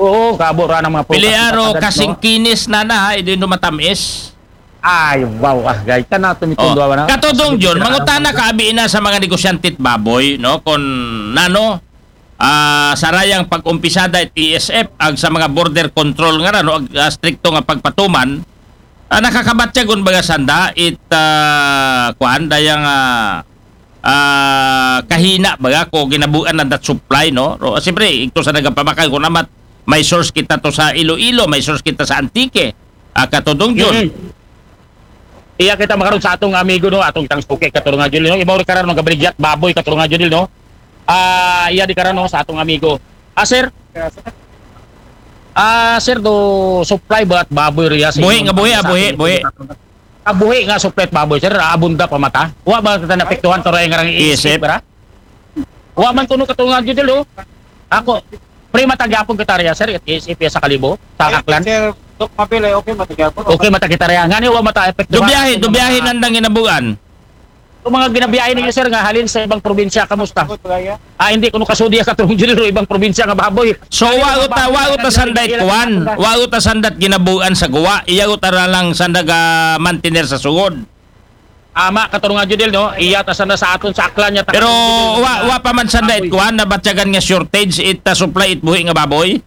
Oo, kabo ra ng mga prutas. Piliaro, Pagkakit, no? kasing kinis na na, ha, hindi no matamis. Ay, wow, ah, guys, ka na Oh. tumitundwa na. Katodong Jun, mangutana ka abi na sa mga negosyante it baboy, no? Kung nano, ah, sarayang pag-umpisada it E S F, ag sa mga border control nga, no? Ag, ah, strikto nga pagpatuman, ah, nakakabatyagon baga sanda, it, ah, kuan, dayang, ah, ah, kahina baga ko ginabuan na dat supply, no? Ro, siyempre, ito sa nagapamakay, kung namat, may source kita to sa Iloilo, may source kita sa Antique, ah, Katodong Jun. Mm. Iya kita makaron sa atong amigo, no, atong tang suki katurungan Jun, no. Ibaw karon nga baligyat baboy katurungan Jun, no. Ah, iya di karon, no, sa atong amigo. Ah, sir. Ah, sir, do supply ba at baboy riya sa Buhi inyong nga buhi, ah, sa buhi, atong buhi. Ah, buhi nga supply at baboy, sir. Ah, abunda pa mata. Wa ba kita naapektuhan to nga ring Isip. isip, ra? Wa man kuno katurungan Jun, oh. Ako, pre, matagyapon kita riya, sir, it isip sa Kalibo, sa Aklan. Sir Doc Mabel, ay okay, matagyapon. Okay, mata kita riya. Ngani wa mata epekto. Dubiyahe, dubiyahe nandang ginabuan. Ang mga ginabiyahe ninyo, sir, nga halin sa ibang probinsya, kamusta? Good, bagaya. Ah, hindi ko nakasulti katurungan Jun, ibang probinsya nga baboy. So, wa uta, wa uta sanday kuan, wa uta sandat ginabuan sa guwa, iya uta ra lang sandaga mantener sa sugod. Ama, katurungan Jun, no? Iya ta sana sa aton sa Aklan niya. Pero wa, wa pa man sanday kuan, nabatyagan nga shortage, it, ah, supply it buhi nga baboy.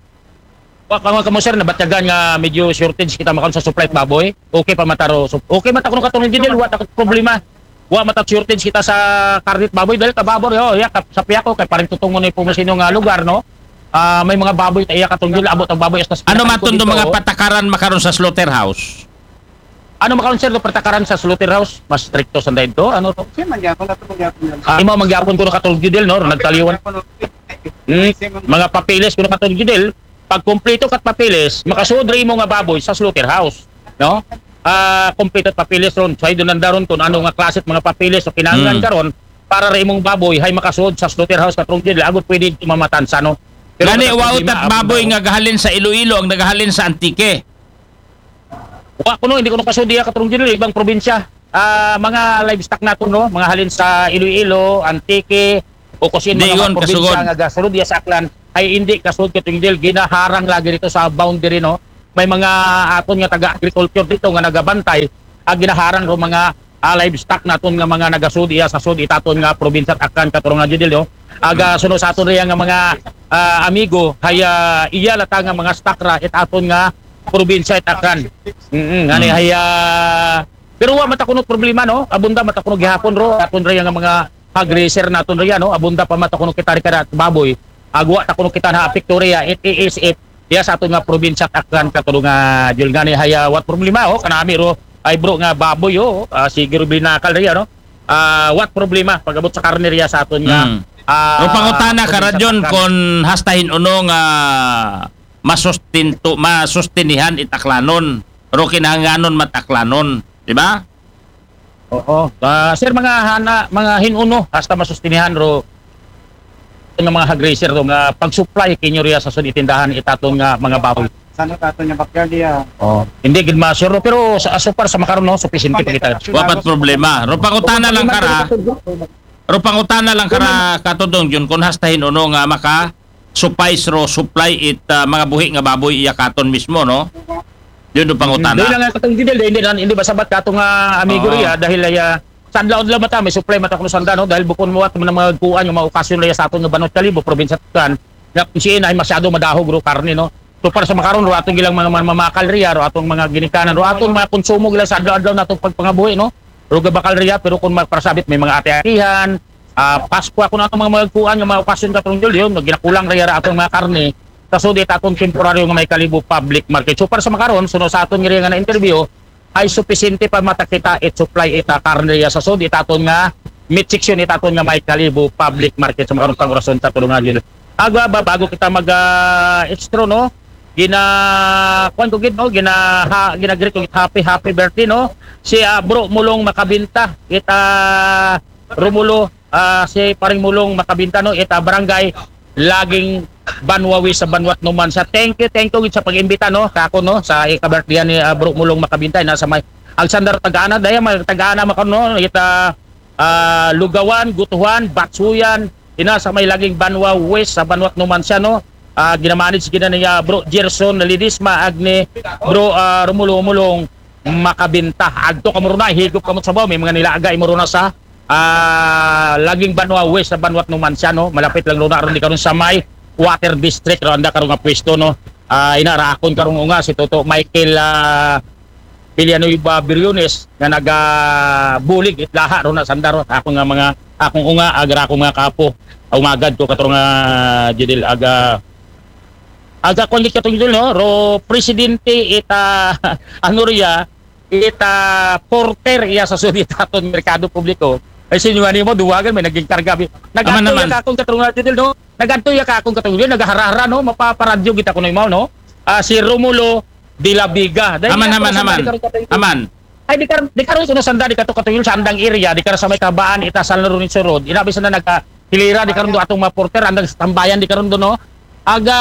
Wa pa man kamo, sir, nabatyagan nga medyo shortage kita makaon sa supply it baboy. Okay pa mata ro. So, okay mata kuno katurungan Jun, wa ta problema. Wa mata shortage kita sa karne it baboy dahil ka baboy, oh, ya, ka, sa Piaco, kay parang tutungo na yung pumusino nga lugar, no? Ah, may mga baboy, iya katurungan Jun, abot ang baboy hasta sa Ano pinakalikod matun do dito, mga oh. patakaran makaron sa slaughterhouse? Ano makaon, sir, do patakaran sa slaughterhouse? Mas stricto sanday to, ano to? Sir, mangyapon, ato mangyapon yan. Ah, imaw mangyapon ko na katurungan Jun, no? Nagtaliwan. Hmm, mga papeles kuno, Katong Judel, pag kompleto kat papeles, makasud ra imo nga baboy sa slaughterhouse, no? Ah, kompleto papeles ron, sa idon nandaron kung ano nga klase mga papeles o kinahanglan Hmm. karon para ra imong baboy hay makasud sa slaughterhouse, Katong Judel, agot pwede mamatan sa, no? Pero Gani, ang wa problema, utat ang baboy mga nga gahalin sa Iloilo ang nagahalin sa Antique. Wa kuno, hindi kuno kasud diya, Katong Judel, ibang probinsya. Ah, mga livestock nato, no? Mga halin sa Iloilo, Antique, o kung sino mga Digon, probinsya kasugod. Nga gasulod diya sa Aklan, ay hindi kasud, Katong Judel, ginaharang lagi dito sa boundary, no? May mga aton nga taga-agriculture dito nga nagabantay, ang ginaharang ro mga ah, livestock naton nga mga nagasud iya sa sud itaton nga probinsya at Aklan, Katong Judel, no? Aga suno sa aton riya nga mga ah, amigo, haya iya lata nga mga stock ra itaton nga probinsya at Aklan. Mm, ngani Mm. haya, pero wa matakunot problema, no? Abunda matakunot gihapon ro aton riya nga mga hog raiser naton riya, no? Abunda pa matakunot kita ri kada baboy. Agwa ta kuno kita na apekto riya, it is it. Iya sa aton nga probinsya at Aklan, Katong Judel, ngani haya wat problema, oh, kanami ro ay bro nga baboy, oh, ah, sige ro binakal riya, no? Ah, wat problema pag-abot sa karne riya sa aton nga Mm. ah, Ro pangutana ka, probinsya Radyon, Aklan. Kung hastahin uno nga masustinto, masustinihan it Aklanon, ro kinahanglanon mat Aklanon, di ba? Oo. Ah, sir, mga hana, mga hinuno, hasta masustinihan ro nga mga hog raiser ro nga pag-supply kinyo riya sa sud itindahan itaton nga mga baboy. Saan tato niya backyard iya? Oh, hindi gid ma-sure, pero sa so far sa makaron, no, sufficiente pa kita. Wa pat problema. Ro pangutana lang kara, ro pangutana lang kara, Katong Judel, kung hastahin uno nga maka supplies ro supply it ah, mga buhi nga baboy iya katon mismo, no? Yun ang pangutana. Dili lang nga, Katong Judel, hindi na, hindi ba sabat kato nga amigo Oo. riya dahil ay ah, sa adlaw-adlaw mata may supply mata kuno sanda, no, dahil bukon mo at mga kuan nga mga okasyon riya sa aton nga banwat Kalibo, probinsya Aklan, nga kung siya ay masyado madahog ro karne, no. So para sa makaron ro atong ilang mga, mga mamakal riya ro atong mga ginikanan ro atong mga konsumo gila sa adlaw-adlaw natong pagpangabuhi, no. Ro gabakal riya pero kung magparasabit may mga ati-atihan, ah, Pasko, kung atong mga magkuan nga mga okasyon, Katong Judel, yun ginakulang riya ra atong mga karne sa sud itatong temporaryo nga May Kalibo public market. So para sa makaron, suno sa aton nga riya nga na interview, ay sufficiente pa matakita it supply ita karne riya sa sud itaton nga meat section itaton nga May Kalibo public market sa makaron pang orason, Katong Judel. Aga ba bago kita mag ah, extra, no? Gina kuan ko gid, no? Gina ha, gina-greet ko gid, happy happy birthday, no? Si ah, Bro Mulong Makabinta, it ah, Romulo, ah, si Paring Mulong Makabinta, no? It ah, barangay Laging Banwa West sa Banwat Numancia. Thank you, thank you gid sa pag-imbita, no? Kako, no, sa ika-birthday ni ah, Bro Mulong Makabinta na sa may Alexander Tagana, daya may Tagana makaron, no? It ah, ah, Lugawan, Gutuhan, Batsuyan, ina sa may Laging Banwa West sa Banwat Numancia, no? Ah, ginamanage gina ni ah, Bro Gerson Ledesma ag ni Bro ah, Romulo Mulong Makabinta. Agto kamo ron na, higop kamo sa baw, may mga nilaga imo ron na sa ah, Laging Banwa West sa Banwat Numancia, no? Malapit lang ron na ron di karon sa may Water District, ron anda karon nga pwesto, no? Ah, ina ra akon karong unga si Toto Michael ah, Villanueva Briones nga nagabulig itlaha ron na sanda ron. Ako nga mga, akong unga, agra akong mga kapo. Umagad ko, Katong ah, Judel, aga aga kuan gid, Katong Judel, no? Ro presidente ita ano riya, ita porter iya sa sud itaton merkado publiko. Ay, sinyo ani mo duwagan may naging karga bi. Aman, Nagadto aman. Ya ka akong, Katong Judel, no? Nagadto ya ka akong, Katong Judel, nagahara-hara, no? Mapaparadyo kita kuno imaw, no? Ah, si Romulo de la Vega. Dahil Aman, nga, aman, sa aman. Katong Judel, Aman. Ay, di karon, di karon kuno sanda di kato, Katong Judel, sa andang area, di karon sa may Kabaan ita San Lorenzo Road. Inabi sa na nagka hilira di karon do atong mga porter, andang tambayan di karon do, no? Aga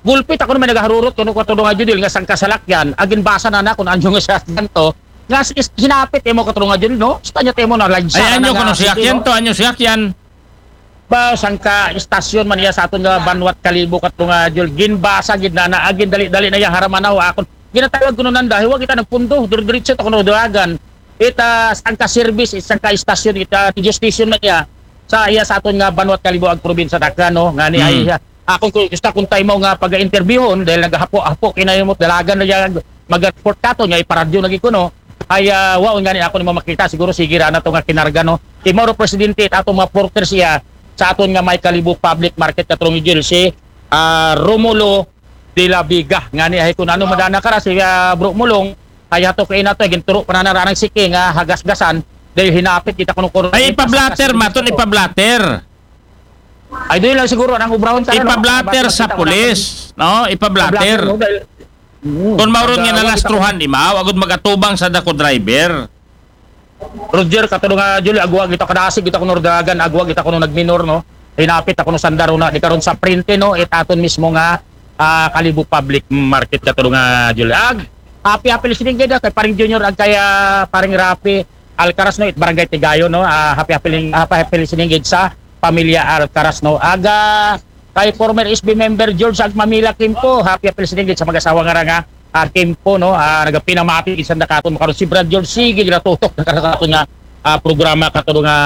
gulpit ako naman nagaharurot kuno, Katong Judel, nga sangka salakyan, agin basa na na kung anyo nga siya ganto. Nga s- is- hinapit imo, Katong Judel, no? Sa kanya temo na lagsa Ay, na anyo nga kuno sige, siyakyan no? To, anyo siyakyan. Ba, sangka istasyon man iya sa aton nga Banwat Kalibo, Katong Judel, ginbasa gid na na, agin dali-dali na iya haramanaw akon. Ginatawag kuno nanda, hiwa kita nagpundo, dire-diretso ta kuno duagan. Ita sangka service, sangka istasyon, ita radio station man iya sa iya sa aton nga Banwat Kalibo ag probinsya Aklan, no? Ngani ay Mm. ah, akong ku- gusto kung tayo mo nga pag-interviewon dahil nagahapo-hapo kinayumot dalagan na iya mag-report kato nga iparadyo lagi kuno. Ay ah, waon ngani ako nimo makita, siguro sige ra na to nga kinarga, no. Imo ro presidente at atong mga porter siya sa aton nga May Kalibo public market, Katong Judel, si ah, Romulo de la Vega. Ngani ay kung ano madana ka ra si ah, Bro Mulong, ay hato kay nato ginturo pa na naranang siki nga hagasgasan dahil hinapit kita kuno kuno. Ay, ipa-blotter, maton ipa-blotter. Ay, doon lang siguro ang obrahon sa, ano, Ipa-blotter para sa makita ko pulis, no? Ipa-blotter. Ipa-blotter, no? Dahil, mm, Kung mauron nga pag, ah, nalastruhan, di mao, agud mag-atubang sa dako driver. Roger, katulong nga, Julio, agwa kita kadasig, kita kuno dagan, agwa kita kuno nagminor, no? Hinapit ako no sandaro na, di karon sa printe, no? It aton mismo nga, ah, Kalibo Public Market, katulong nga, Julio. Ag, happy, happy listening gid, ah, kay Paring Junior, ag kay, ah, Paring Rafi Alcaraz, no? It Barangay Tigayon, no? Ah, happy, happy, ling- happy, happy listening gid sa pamilya Alcaraz, no? Ag, ah, kay former S B member George Agmamila Kimpo, happy, happy listening gid sa mag-asawa nga ra nga, ah, Kimpo, no? Ah, nagapinamati gid sa nakaton makaron si Brad George, sige, ginatutok na karon sa aton nga, ah, programa, katulong nga,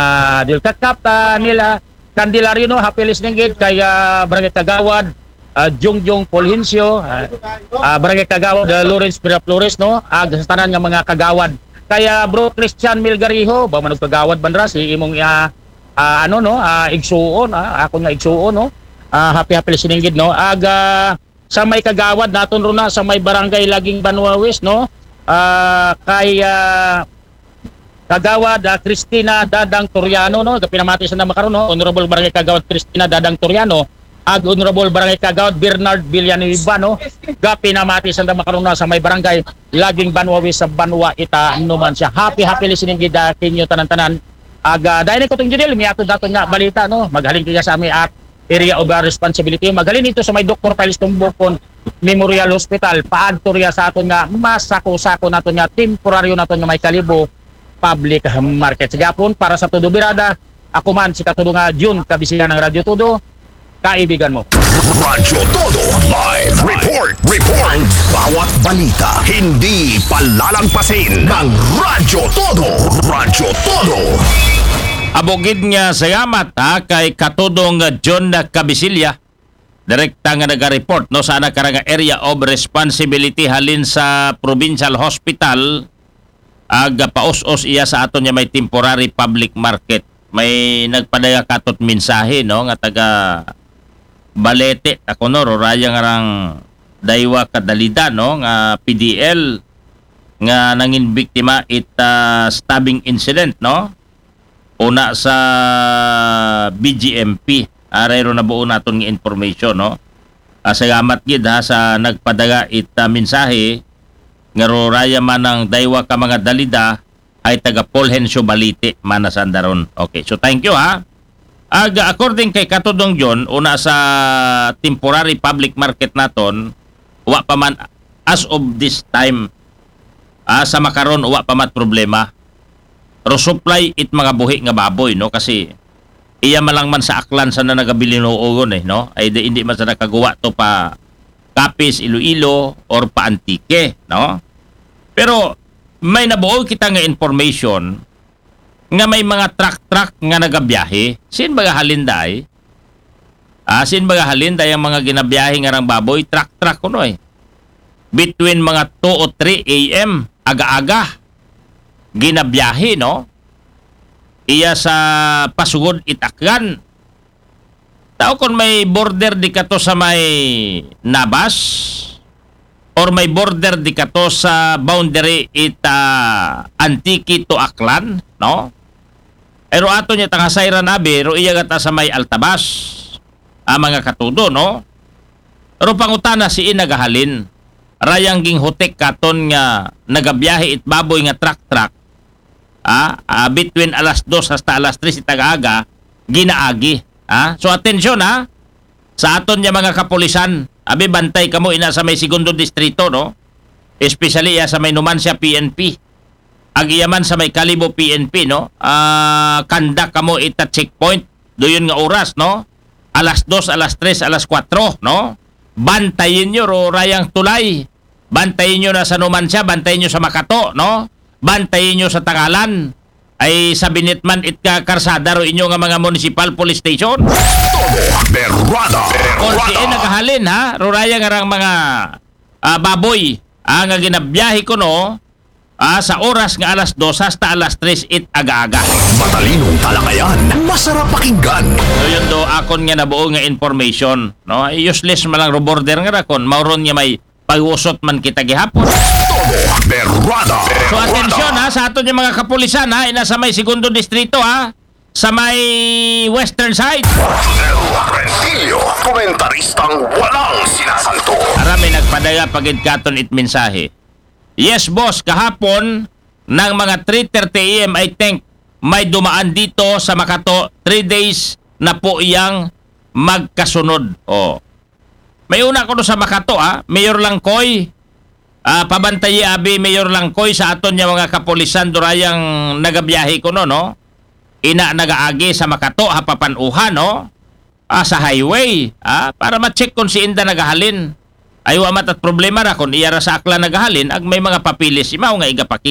Dil Kakap, ah, nila Candelario, no? Happy listening gid kay, ah, Barangay Kagawad, ah, Jongjong Fulgencio, ah, ah, Barangay Kagawad, ah, Lawrence Miraflores, no? Ag sa tanan nga mga kagawad. Kay, ah, Bro Christian Milgariho, ba man og kagawad banra si imong, ah, ah, ano, no? Ah, igsuon, ah, ako nga igsuon, no? Ah, happy, happy listening gid, no? Ag, ah, sa may kagawad naton ron na sa may Barangay Laging Banwa West, no? Ah, kay, ah, Kagawad, ah, Christina Dadang Toriano, no? Gapinamati sa nanda makaron, no? Honorable Barangay Kagawad Christina Dadang Toriano, ag Honorable Barangay Kagawad Bernard Villanueva, no? Gapinamati sa nanda makaron na sa may Barangay Laging Banwa West sa Banwa Ita, Numancia. Happy, happy listening gid, ah, kinyo tanan-tanan. Ag, ah, dahil ko tong Judel, miatod naton nga balita, no? Maghalin kaya sa amin at area of, ah, responsibility. Maghalin ito sa may Doktor Piles Tumbukon Memorial Hospital. Paadto riya sa aton nga masako-sako naton nga temporaryo naton nga may Kalibo Public Market. Sa gihapon, para sa Todo Birada, ako man si Katudo nga Jun Kabisihan ng Radyo Todo, kaibigan mo. Radyo Todo Live Report. Report. Bawat balita, hindi palalagpasin ng Radyo Todo. Radyo Todo. Abugid nga salamat, ha, kay Katudong John Cabisilya, direkta nga naga-report, no, sa ana kara nga area of responsibility halin sa Provincial Hospital, ag paus-os iya sa aton nga may temporary public market. May nagpadala katot mensahe, no, nga taga Balete, ako, no, ruraya nga rang daywa ka dalida, no, nga P D L nga nangin biktima it, ah, stabbing incident, no, una sa B G M P. Aray ro nabuo naton nga information, no? Ah, salamat gid, ha, sa nagpadala it, ah, mensahe nga ruraya man ang daywa ka mga dalida ay taga Fulgencio Balite man na sandaron. Okay, so thank you, ha. Ag, according kay Katudong John, una sa temporary public market naton, wa pa man as of this time, ah, sa makaron, wa pa mat problema. Ro supply it mga buhi nga baboy, no? Kasi iya malang man sa Aklan sa na nagabilinuogon, eh, no? Ay di, hindi man sa nakaguwa to pa Capiz, Iloilo, or pa Antique, no? Pero may nabuo kita nga information nga may mga truck-truck nga nagabiyahe. Sin baga halin day? Ah, sin baga halin day ang mga ginabiyahe nga rang baboy, truck-truck kuno, eh. Between mga two o three A M, aga-aga, ginabiyahe, no? Iya sa pasugod it Aklan. Tao kon may border di kato sa may Nabas, or may border di kato sa boundary it, ah, Antique to Aklan, no? Pero ato niya tangasayran abi, ro iya gata sa may Altabas, ang mga Katudo, no? Pero pangutana si nagahalin, rayang ginghutik katon nga nagabiyahe it baboy nga truck-truck, ah, ah, between alas dos hasta alas tres it aga-aga, ginaagi. Ah? So, atensyon, ha, sa aton nga mga kapulisan, abi, bantay kamo ina sa may segundo distrito, no? Especially iya sa may Numancia P N P. Ag iya man sa may Kalibo P N P, no? Ah, kanda kamo ita checkpoint, duyon nga oras, no? Alas dos, alas tres, alas kwatro, no? Bantayin nyo ro rayang tulay. Bantayin nyo na sa Numancia, bantayin nyo sa Makato, no? Bantayin nyo sa Tangalan. Ay sabinit man it ka karsada ro inyo nga mga municipal police station. Todo Berrada. Kung si Berrada. Nagahalin, ha, ruraya nga rang mga, ah, baboy, ah, nga ginabiyahe ko, no, ah, sa oras nga alas dos hasta alas tres it aga-aga. Matalinong talakayan, masarap pakinggan. So, yun do, akon nga nabuo nga information, no? Ay, useless man lang ro border nga rakon, mauron nga may pag-usot man kita gihapon. Todo Berrada. So, atensyon, ha, sa aton nga mga kapulisan, ha, ina sa may segundo distrito, ha, sa may western side. Arnel Rentillo, komentaristang walang sinasanto. Ara, may nagpadala pa gid katon it mensahe. Yes, boss, kahapon ng mga three thirty A M, I think, may dumaan dito sa Makato. Three days na po yang magkasunod. Oh. May una ko sa Makato, ah, Mayor Langkoy. Ah, pabantayi abi, Mayor Langkoy, sa aton nga mga kapulisan durayang nagabiyahe kuno, no? Ina nagaagi sa Makato ha Papanuhan, no? Ah, sa highway, ah, para ma-check kung si inda nagahalin. Ay, wa matat problema ra kung iya ra sa Aklan nagahalin, ag may mga papilis imaw nga igapakita.